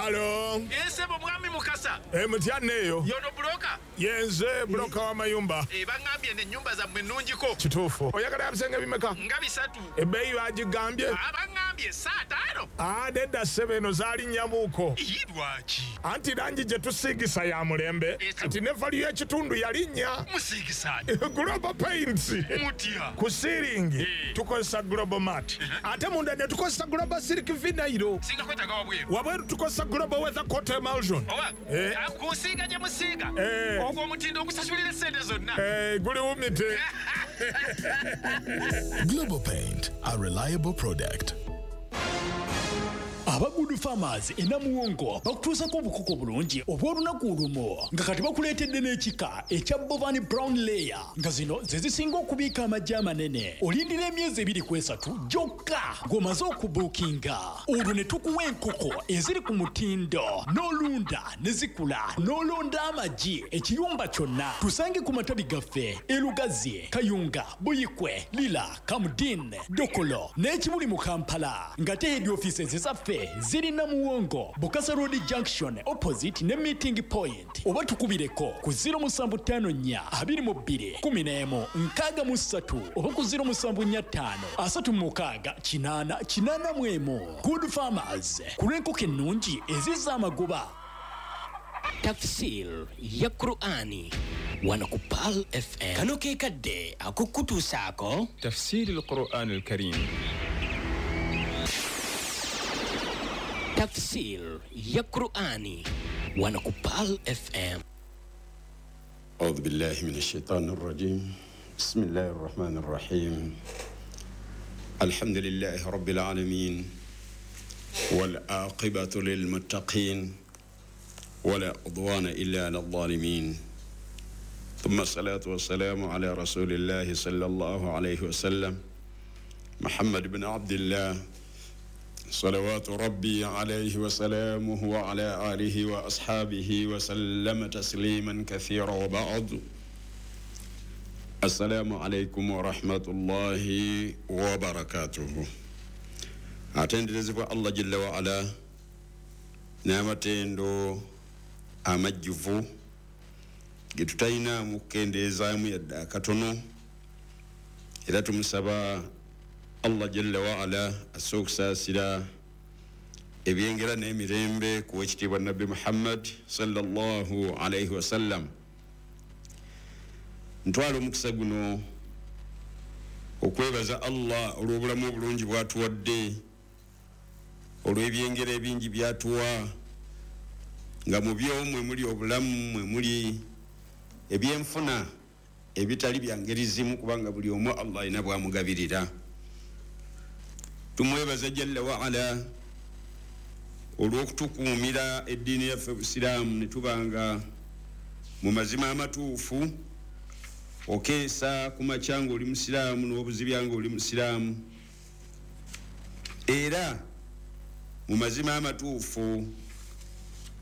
Speaker 6: Halo.
Speaker 7: Yesebo mwami Mukasa.
Speaker 6: Mutya neyo.
Speaker 7: Yono broker.
Speaker 6: Yenze broker wa mayumba.
Speaker 7: Bangambye ne nyumba za mwe nnungiko.
Speaker 6: Kituufu. Oyagala ebisenge bimeka?
Speaker 7: Nga bisatu.
Speaker 6: Ebbeeyi bagigambye.
Speaker 7: Abangambye saa tano.
Speaker 6: Nedda ssebo eno zaali nnyamuuko.
Speaker 7: Lwaki?
Speaker 6: Anti langi gye tusiigisa ya mulembe. Kati ne value y'ekitundu yalinnya.
Speaker 7: Musiigisa.
Speaker 6: Global Paints.
Speaker 7: Mutya.
Speaker 6: Ku siiringi tukozesa Global Mat. Ate munda ne tukozesa Global Silk Vinyl.
Speaker 7: Singa kwetaaga wabweru.
Speaker 6: Wabweru tukozesa Global Weather Coat Emulsion.
Speaker 7: Oba kusiiga gye musiiga. Ogwo omutindo ogusasulira essente zonna.
Speaker 6: Guli wumite.
Speaker 8: Global Paint, a reliable product.
Speaker 3: Aba Good Farmers e Namuwongo bakutuusako obukoko bulungi obw'olunaku olumu nga kati bakuleetedde n'ekika ekya Bovani Brown Layer nga zino ze zisinga okubiika amagi amanene. Olindira emyezi 2 ku 3 gyokka ng'omaze okubuukinga, olwo ne tukuwa enkoko eziri ku mutindo n'olunda ne zikula n'olonda amagi ekiyumba kyonna. Tusange ku matabi gaffe e Lugazi, Kayunga, Buyikwe, Lira, Kamudin, Dokolo n'ekibuli mu Kampala, nga te head offices zaffe ziri Namuwongo, Bukasa Road Junction opposite ne meeting point, oba tukubireko ku 0754 22 11 63 oba ku 0745 36 8 81. Good Farmers, ku lw'enkoko ennungi ezizza amagoba.
Speaker 9: Tafsir ya Qur'ani wano ku Pearl FM. Kano ke kadde akukutuusaako
Speaker 10: Tafsir al-Qur'an al-Karim.
Speaker 9: Tafsir ya Qur'ani wano ku Pearl FM.
Speaker 11: أعوذ بالله من الشيطان الرجيم. بسم الله الرحمن الرحيم. الحمد لله رب العالمين والعاقبة للمتقين ولا عدوان إلا على الظالمين، ثم الصلاة والسلام على رسول الله صلى الله عليه وسلم محمد بن عبد الله صلوات ربي عليه وسلامه وعلى آله وأصحابه وسلم تسليما كثيرا، وبعد. السلام عليكم ورحمة الله وبركاته. Atenderezebwa Allah Jalla wa Ala n'amatendo amajjuvu ge tutalina mu kukendeezaamu yadde akatono, era tumusaba Allah Jalla wa Ala asse okusaasira ebyengera n'emirembe ku w'ekitiibwa Nabbi Muhammad sallallahu alaihi wasallam. Ntwala omukisa guno okwebaza Allah olw'obulamu obulungi bw'atuwadde, olw'ebyengera ebingi by'atuwa, nga mu byo mwe muli obulamu, mwe muli ebyenfuna ebitali bya ngeri zimu, kubanga buli omu Allah alina bw'amugabirira. Tumwebaza Jalla wa Ala olw'okutukuumira eddiini yaffe Busiraamu ne tubanga mu mazima amatuufu. Okeesa ku makya ng'oli musiraamu n'obuzibya ng'oli musiraamu, era mu mazima amatuufu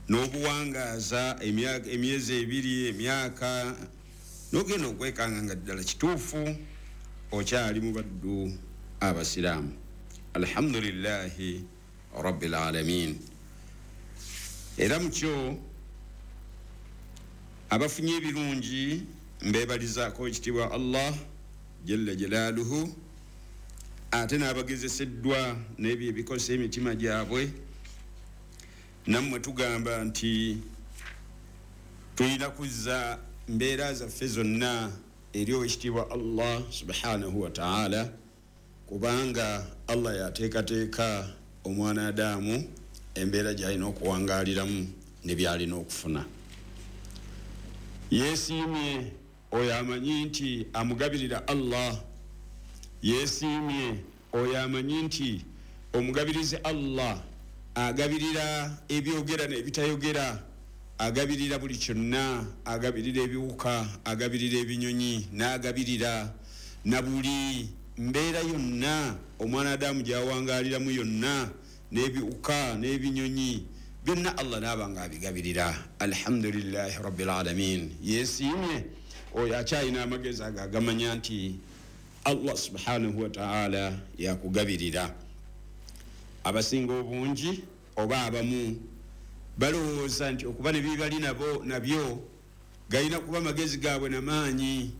Speaker 11: n'obuwangaaza emyezi 2, emyaka, n'ogenda okwekanga nga ddala kituufu okyali mu baddu abasiraamu. Alhamdulillahi rabbil alamin. Era mukyo abafunye ebirungi mbebalizaako ekitiibwa Allah Jalla Jalaaluhu, ate n'abagezeseddwa n'ebyo ebikosa emitima gyabwe. Nammwe tugamba nti tulina kuzza mbeera zaffe zonna eri owekitiibwa Allah subhanahu wa ta'ala, kubanga Allah yateekateeka omwana Adamu embeera gy'alina okuwangaaliramu ne by'alina okufuna. Yeesiimye oyo amanyi nti amugabirira Allah, yeesiimye oyo amanyi nti omugabirizi Allah agabirira ebyogera n'ebitayogera, agabirira buli kyonna, agabirira ebiwuka, agabirira ebinyonyi, n'agabirira na buli mbeera yonna omwana Adamu gy'awangaaliramu yonna, n'ebiwuka n'ebinyonyi byonna Allah n'aba ng'abigabirira. Alhamdulillahi rabbil alamin. Yeesiimye oyo akyalina amagezi ago agamanya nti Allah subhanahu wa ta'ala yakugabirira. Abasinga obungi oba abamu Balowooza nti okuba ne bibali nabo nabyo galina kuba magezi gaabwe namaanyi,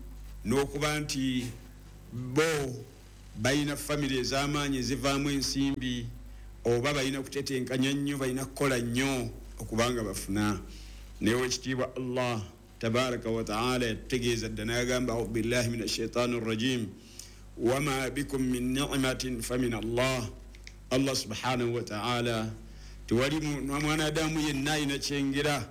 Speaker 11: n'okuba nti bo balina famire ez'amaanyi ezivaamu ensimbi, oba balina kutetenkanya nnyo, balina kukola nnyo okubanga bafuna. Naye owekitiibwa Allah tabaraka wa taala yatutegeeza dda n'agamba, audu billahi min ashaitani rrajim, wama bikum min nimatin famin Allah. Allah subhanahu wa taala, tewali mwanadamu yenna alina kyengera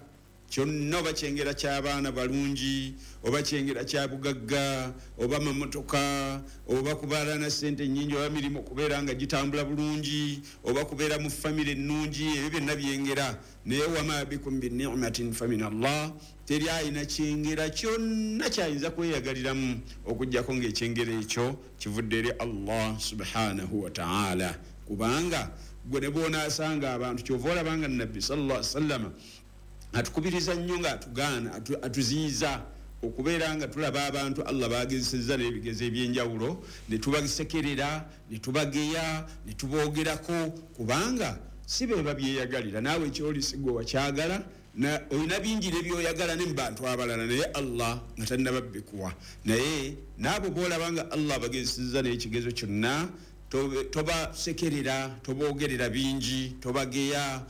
Speaker 11: kyonna, oba kyengera ky'abaana balungi, oba kyengera kya bugagga, oba mamotoka, oba kubeera na ssente nnyingi, oba mirimu kubeera nga gitambula bulungi, oba kubeera mu famire ennungi, ebyo byonna byengera. Naye wama bikum binimatin famin Allah, teri alina kyengera kyonna kyayinza kweyagaliramu okuggyako ng'ekyengera ekyo kivudde eri Allah subhanahu wa taala. Kubanga gwe ne bw'onaasanga abantu, kyova olabanga Nabbi sallallahu alaihi wasallama atukubiriza nnyo nga atugaana, atuziyiza okubeera nga tulaba abantu Allah bagezesezza n'ebigezo ebyenjawulo, ne tubasekerera, ne tubageya, ne tuboogerako, kubanga si be babyeyagalira. Naawe kyoli si gwe wakyagala, olina bingi ne byoyagala ne mu bantu abalala, naye Allah nga tannababbikuwa. Naye naabo bw'olaba nga Allah bagezesezza n'ekigezo kyonna, tobasekerera, toboogerera bingi, tobageya,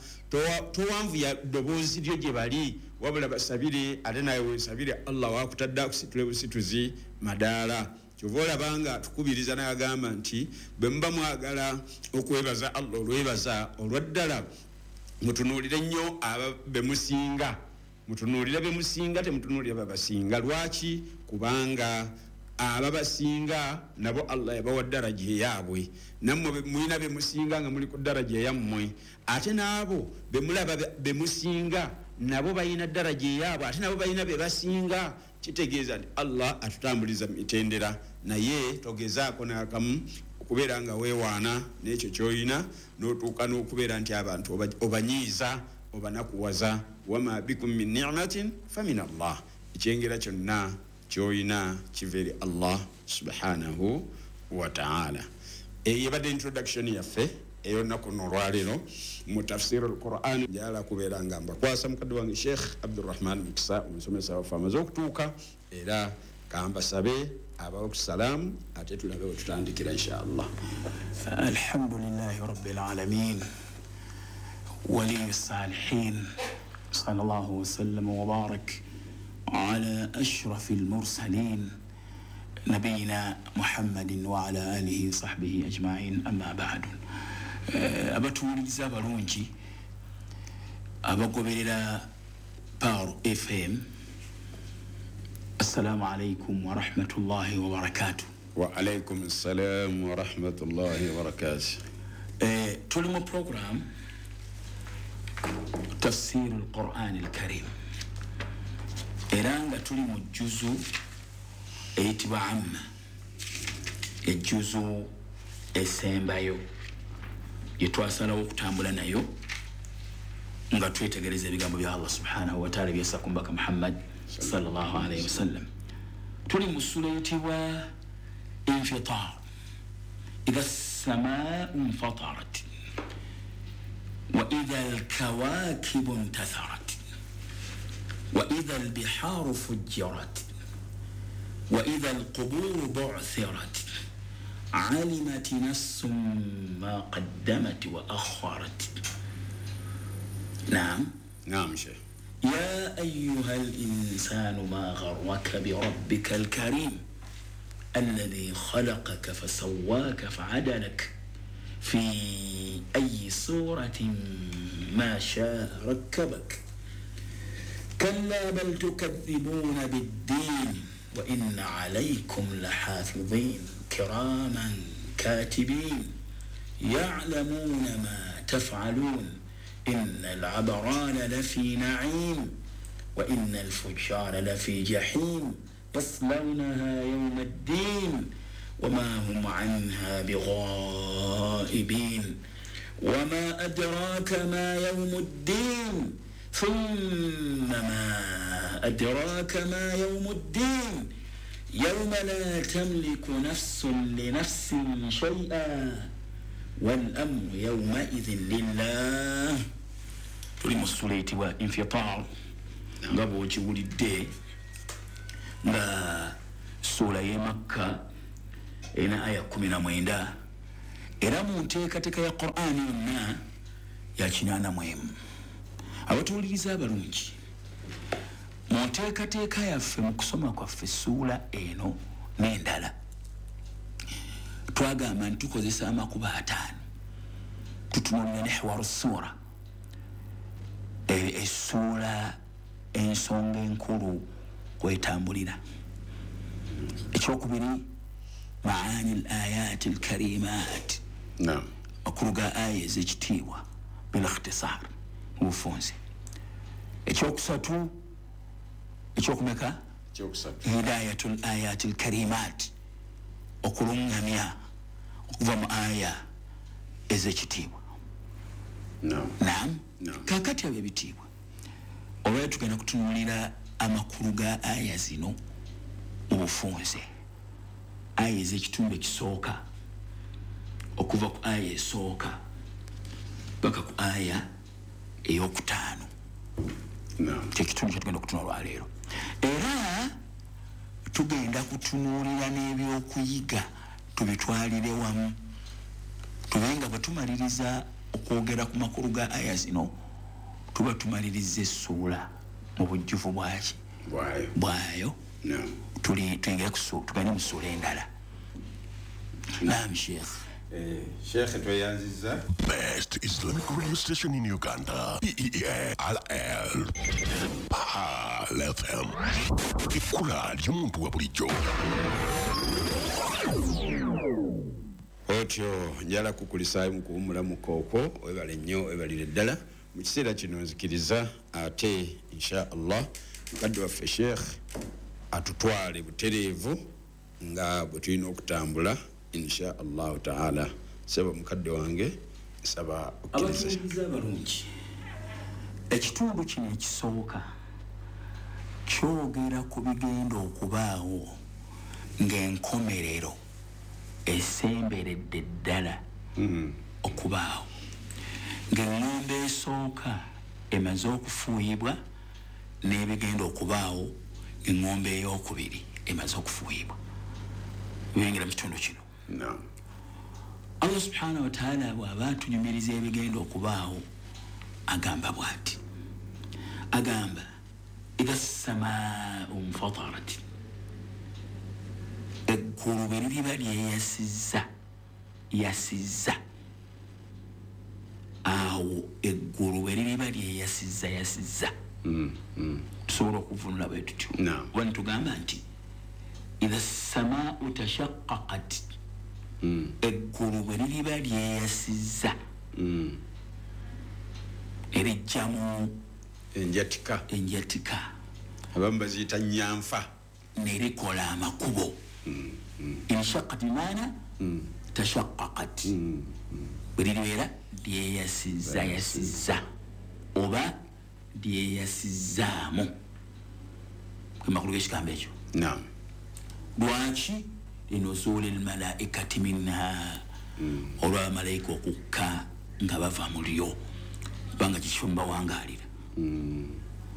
Speaker 11: towanvuya ddoboozi lyo gye bali, wabula basabire, ate nawe weesabire Allah wakutadde akusitule busituzi madaala. Kyova olabanga atukubiriza n'agamba nti bwe muba mwagala okwebaza Allah olwebaza olwaddala, mutunuulire nnyo aba bemusinga, mutunuulire bemusinga, temutunuulire babasinga. Lwaki? Kubanga ababasinga nabo Allah yabawa daraja eyaabwe, nammwe mulina bemusinga nga muli ku daraja eyammwe, ate n'abo bemulaba bemusinga nabo balina daraja eyaabwe, ate nabo balina bebasinga. Kitegeeza nti Allah atutambuliza mitendera, naye togezaako n'akamu okubeera nga weewaana n'ekyo ky'olina, n'otuuka n'okubeera nti abantu obanyiiza, obanakuwaza. Wama bikum min nimatin famin Allah, ekyengera kyonna ky'olina kiva eri Allah subhanahu wa taala. Eyo ebadde introduction yaffe ey'olunaku luno olwaleero mu tafsiri al-Quran. Njagala kubeera nga mbakwasa mukadde wange Sheikh Abdurrahman Mukisa, omusomesa waffe amaze okutuuka, era kambasabe abawe ku salaamu ate tulabe we tutandikira insha Allah.
Speaker 12: Alhamdulillahi rabbil alamin, waliyu salihin, sallallahu wasallam wa barak على أشرف المرسلين نبينا محمد وعلى آله وصحبه أجمعين، أما بعد. Abatuwuliriza abalungi abagoberera Power FM, assalamu alaikum wa rahmatullahi wa barakatuh.
Speaker 11: Wa alaikum assalam wa rahmatullahi wa barakatuh.
Speaker 12: Tuli mu program tafsir al-Quran al-Karim, era nga tuli mu juzu eyitibwa Amma, ejuzu esembayo yetwasalawo okutambula nayo nga twetegereza ebigambo bya Allah subhanahu wa ta'ala byassa ku mbaka Muhammad sallallahu alayhi wasallam. Tuli mu sura eyitibwa Infitar, idha as-samaa'u infatarat wa idha al-kawakibu intatharat wa idha al-biharu fujjirat wa idha al-quburu bu'thirat alimat nafsun ma qaddamat wa akharat. Naam.
Speaker 11: Naam Sheikh.
Speaker 12: Ya ayyuha al-insanu ma gharraka bi rabbika al-karim alladhi khalaqaka fasawwaka fa'adalak fi ayyi suratin ma sha'a rakkabak. Kalla bal tukadhibuna bid-din wa inna alaykum lahafidhin kiraman katibin ya'lamuna ma taf'alun inna al-abrara lafi na'im wa inna al-fujjara lafi jahim yaslawnaha yawma ad-din wa ma hum 'anha bighaibin wa ma adraka ma yawmu ad-din thumma ma adraka ma yawmu ad-din yawma la tamliku nafsun li nafsin shay'an wal amru yawma idhin lillah. Tuli mu ssuula eyitibwa Infitar, nga bw'okiwulidde nga ssuula y'e Makka erina aya 19, era mu nteekateeka ya Qur'ani yonna ya 81. Abatuwuliriza abalungi, mu nteekateeka yaffe mu kusoma kwaffe ssuula eno n'endala, twagamba nti tukozesa amakubo 5. Tutunuulira nihwaru ssuura, essuula ensonga enkulu kwetambulira. Ekyokubiri, maani al ayati al karimat, amakulu ga aya ez'ekitiibwa bil ikhtisar, mu bufunze. Ekyokusatu, ekyokumeka, hidayatul ayati al karimat, okulungamya okuva mu aya ez'ekitiibwa. Naam. Kaakati abo ebitiibwa, olwaleero tugenda kutunuulira amakulu ga aya zino mu bufunze. Aya ez'ekitundu ekisooka, okuva ku aya esooka paka ku aya ey'okutaano, kyekitundu kyetugenda okutunula olwaleero. Era tugenda kutunuulira n'ebyokuyiga tubitwalire wamu, tube nga bwe tumaliriza okwogera ku makulu ga aya zino, tuba tumaliriza essuula mu bujjuvu bwaki bwayo. Tuyingire tugende mu ssuula endala. Naam Sheikh.
Speaker 11: Sheikh tweyanziza.
Speaker 8: Best Islamic radio station in Uganda, PEALL, Pearl FM. Ekkula ly'omuntu wa bulijjo.
Speaker 11: Otyo njala kukulisaayo mu kuwummulamuko okwo, webale nnyo, webalire ddala. Mu kiseera kino nzikiriza ate insha Allah mukadde waffe Sheikh atutwale butereevu nga bwe tulina okutambula insha Allahu taala. Saba mukadde wange, nsaba okkirize.
Speaker 12: Abatuwuliriza abalungi, ekitundu kino ekisooka kyogera ku bigenda okubaawo ng'enkomerero esemberedde ddala okubaawo, ng'eŋŋombe esooka emaze okufuuyibwa n'ebigenda okubaawo ng'eŋŋombe ey'okubiri emaze okufuuyibwa. Biyingira mu kitundu kino. Allah subhanahu wa ta'ala bw'aba atunyumiriza ebigenda okubaawo agamba bw'ati, agamba idha samaau nfatarat, eggulu bwe liriba lyeyasizza yasizza, awo eggulu bwe liriba lyeyasizza yasizza. Tusobola okuvunula bwe tutyo, oba nitugamba nti idha samaau tashaqqaqat, eggulu bwe liriba lyeyasizza erijjamu
Speaker 11: enjatika,
Speaker 12: enjatika
Speaker 11: abamu baziyita nyanfa,
Speaker 12: nerikola amakubo. Inshaqqat bimaana tashaqqaqat, bwe liribeera lyeyasizza yasizza oba lyeyasizzaamu, ke makulu g'ekigambo ekyo. Lwaki? Linuzuuli lmalaikati minha, olw'abamalayika okukka nga bava mu lyo, kubanga kikifo mubawangaalira,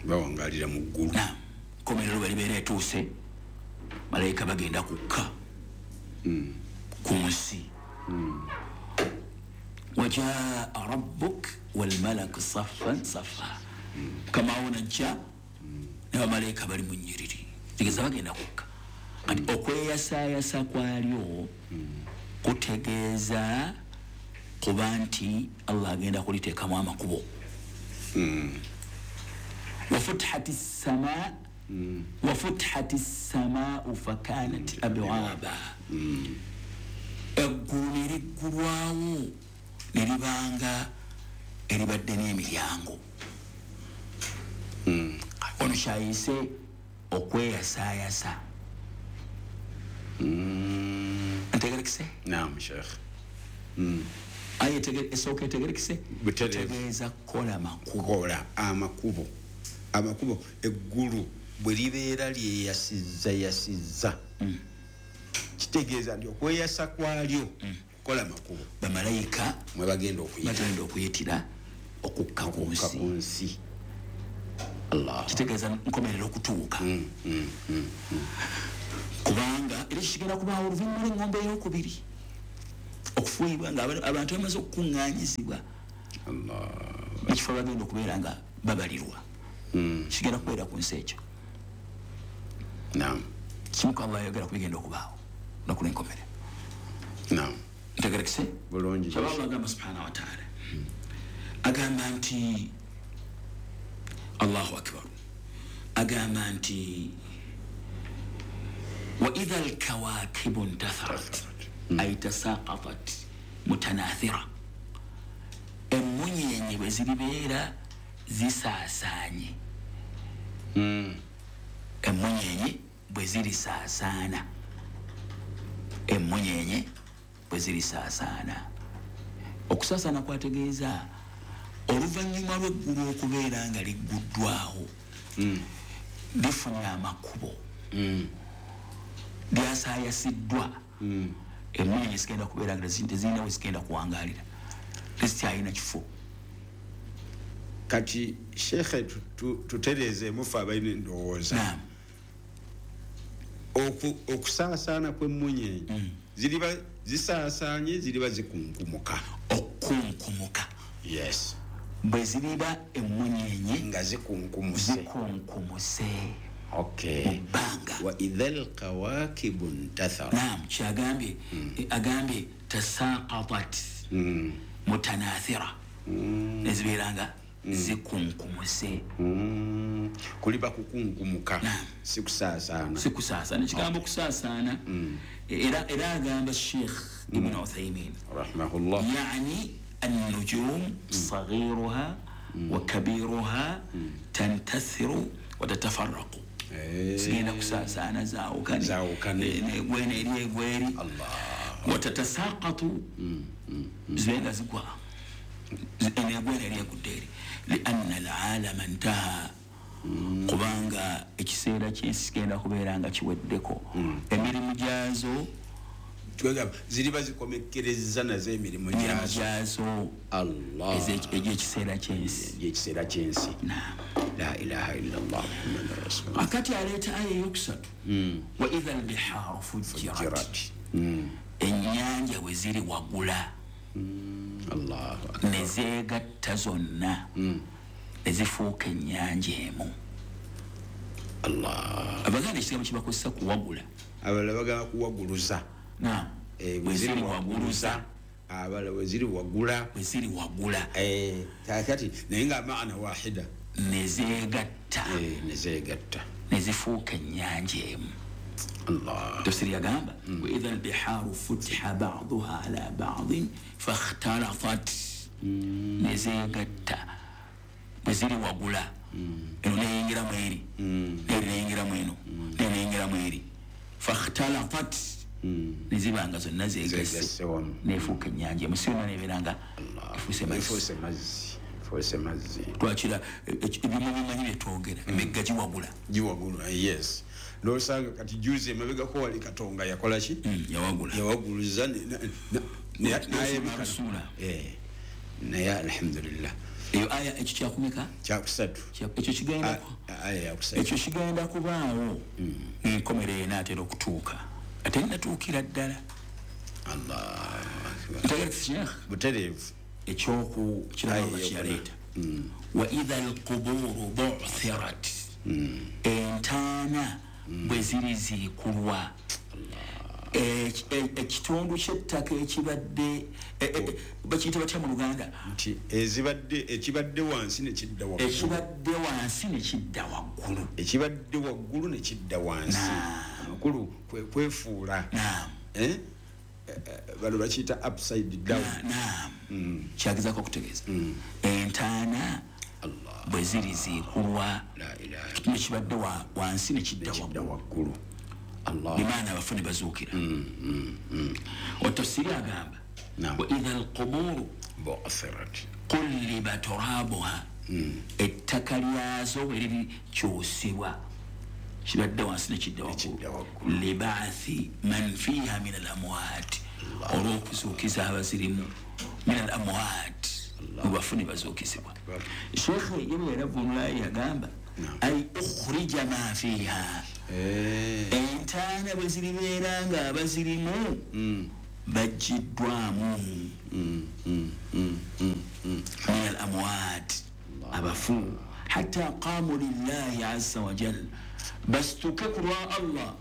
Speaker 11: bawangaalira mu ggulu.
Speaker 12: Naam, komerero bwe libeera etuuse, malayika bagenda kukka ku nsi. Wajaa rabbuk walmalaku saffan saffa, mukama wo najja ne bamalayika bali mu nnyiriri, tegeeza bagenda kukka. Kati okweyasaayasa kwalyo kutegeeza kuba nti Allah agenda kuliteekamu amakubo. Wafutihati ssamaa, wafutihati ssamaau fakanat abwaba, eggulu ne liggulwawo ne libanga eribadde n'emiryango. Ono kyayise okweyasaayasa. Ntegerekise?
Speaker 11: Naam Sheikh.
Speaker 12: Aya esooka etegerekise? Tegeeza kukola makubo.
Speaker 11: Kukola amakubo. Amakubo eggulu bwe libeera lyeyasizza yasizza, kitegeeza nti okweyasa kwalyo kukola makubo,
Speaker 12: bamalayika
Speaker 11: mwe bagenda
Speaker 12: okuyitira Okukka ku nsi. Allah. Kitegeeza nkomerero okutuuka. Kubanga era kigenda kubaawo oluvannyuma lw'eŋŋombe ey'okubiri okufuuyibwa nga abantu bamaze okukuŋŋaanyizibwa ekifo bagenda okubeera nga babalirwa. Kigenda kubeera ku nsi ekyo. Kimu ku abayogera ku bigenda okubaawo olunaku lw'enkomerero. Ntegerekese?
Speaker 11: Bulungi.
Speaker 12: Kyababa agamba subhanahu wa ta'ala. Agamba nti Allahu akbar. Agamba nti wa idha al-kawakibu intatharat ay tasaqatat mutanathira. Emmunyenye bwe ziribeera zisaasaanye. Emmunyenye bwe zirisaasaana. Emmunyenye bwe zirisaasaana. Okusaasaana kwategeeza oluvannyuma lw'eggulu okubeera nga ligguddwawo lifunye amakubo lyasaayasiddwa emmunyenye zigenda kubeera nga tezirina we zigenda kuwangaalira, tezikyalina kifo.
Speaker 11: Kati shekhe tutereezeemu ffe abalina endowooza. Okusaasaana kw'emmunyenye ziriba zisaasaanye, ziriba zikunkumuka.
Speaker 12: Okunkumuka.
Speaker 11: Yes.
Speaker 12: Bwe ziriba emmunyenye
Speaker 11: nga zikunkumuse.
Speaker 12: Zikunkumuse.
Speaker 11: Okay.
Speaker 12: Mu bbanga.
Speaker 11: Wa idha al-kawakibu intatharat.
Speaker 12: Naam, kyagambye agambye tasaqatat mutanathira. Nezibeera nga zikunkumuse.
Speaker 11: Kuliba kukunkumuka. Si kusaasaana.
Speaker 12: Si kusaasaana. Ekigambo kusaasaana era agamba Sheikh Ibn Uthaymin
Speaker 11: rahimahullah,
Speaker 12: yani النجوم صغيرها وكبيرها تنتثر وتتفرق. Zigenda kusaasaana zaawukane negwena eri egweri. Watatasaqatu zibenga zigwa negwena eri egudde eri. Lianna alalama ntaha, kubanga ekiseera ky'ensi kigenda kubeera nga kiweddeko. Emirimu gyazo
Speaker 11: ziriba zikomekkereza nazo emirimu
Speaker 12: gyazo
Speaker 11: Allah
Speaker 12: egy'ekiseera ky'ensi.
Speaker 11: Egy'ekiseera ky'ensi. La ilaha illallah Muhammadur rasulullah.
Speaker 12: Akati aleeta aya eyokusatu wa idha al-biharu fujirat. Ennyanja bwe ziri waggula ne zeegatta zonna ne zifuuka ennyanja emu.
Speaker 11: Allah.
Speaker 12: Abaganda ekigambo kibakozesa kuwagula,
Speaker 11: abalala bagamba kuwaguluza.
Speaker 12: Naam. Bwe ziri waguluza,
Speaker 11: abalala bwe ziri wagula,
Speaker 12: bwe ziri wagula.
Speaker 11: Kakati naye nga maana wahida
Speaker 12: ne zeegatta,
Speaker 11: ne zeegatta
Speaker 12: ne zifuuka ennyanja emu.
Speaker 11: Allah.
Speaker 12: Tafsiri yagamba wa idha al-biharu futiha ba'duha ala ba'din fakhtalafat. Ne zeegatta bwe ziri wagula, eno neyingiramu eri, eri neyingiramu eno, neyingiramu eri, fakhtalafat nezibanga zonna zeegasse nefuuka ennyanja emu. Si yonna nebeera nga efuuse
Speaker 11: mazzi.
Speaker 12: Twakira ebimu bimanyi bye twogera, emigga giwagula.
Speaker 11: Giwagula, yes. N'osanga kati juzi emabegako wali Katonga yakola ki?
Speaker 12: Yawagula.
Speaker 11: Yawaguluza n'ayebikasuula. Naye alhamdulillah.
Speaker 12: Eyo aya ekyo kyakumeka?
Speaker 11: Kyakusatu.
Speaker 12: Ekyo kigenda
Speaker 11: aya yakusatu.
Speaker 12: Ekyo kigenda kubaawo enkomerero enaatera okutuuka. Ate nnatuukira ddala.
Speaker 11: Allah.
Speaker 12: Butereevu. Ekyoku kiraba kyaleeta. Wa idha al-quburu bu'thirat. Entaana bwe ziriziikulwa. Ekitundu ky'ettaka ekibadde bakiyita batya mu Luganda?
Speaker 11: Nti ezibadde ekibadde wansi ne kidda waggulu.
Speaker 12: Ekibadde wansi ne kidda waggulu.
Speaker 11: Ekibadde waggulu ne kidda wansi. Amakulu kwefuula. Bano bakiyita upside down.
Speaker 12: Naam. Kyagezaako okutegeeza. Entaana bwe ziriziikulwa ekitundu ekibadde wansi ne kidda
Speaker 11: waggulu.
Speaker 12: Bimaana abafu ne bazuukira. Otafsiri agamba wa idha al-quburu
Speaker 11: bu'thirat
Speaker 12: qulliba turabuha, ettaka lyazo bwe lirikyusibwa kibadde wansi ne kidda waggulu, libaathi man fiha min al amwaat, olw'okuzuukiza abazirimu min al amwaat mu bafu ne bazuukizibwa. Sheekhe ye bwe yalavunula yagamba ay ukhrija ma fiha, entaana bwe ziribeera nga abazirimu baggiddwamu min al amwat, abafu, hatta qamu lillahi azza wa jal, basituke ku lwa Allah.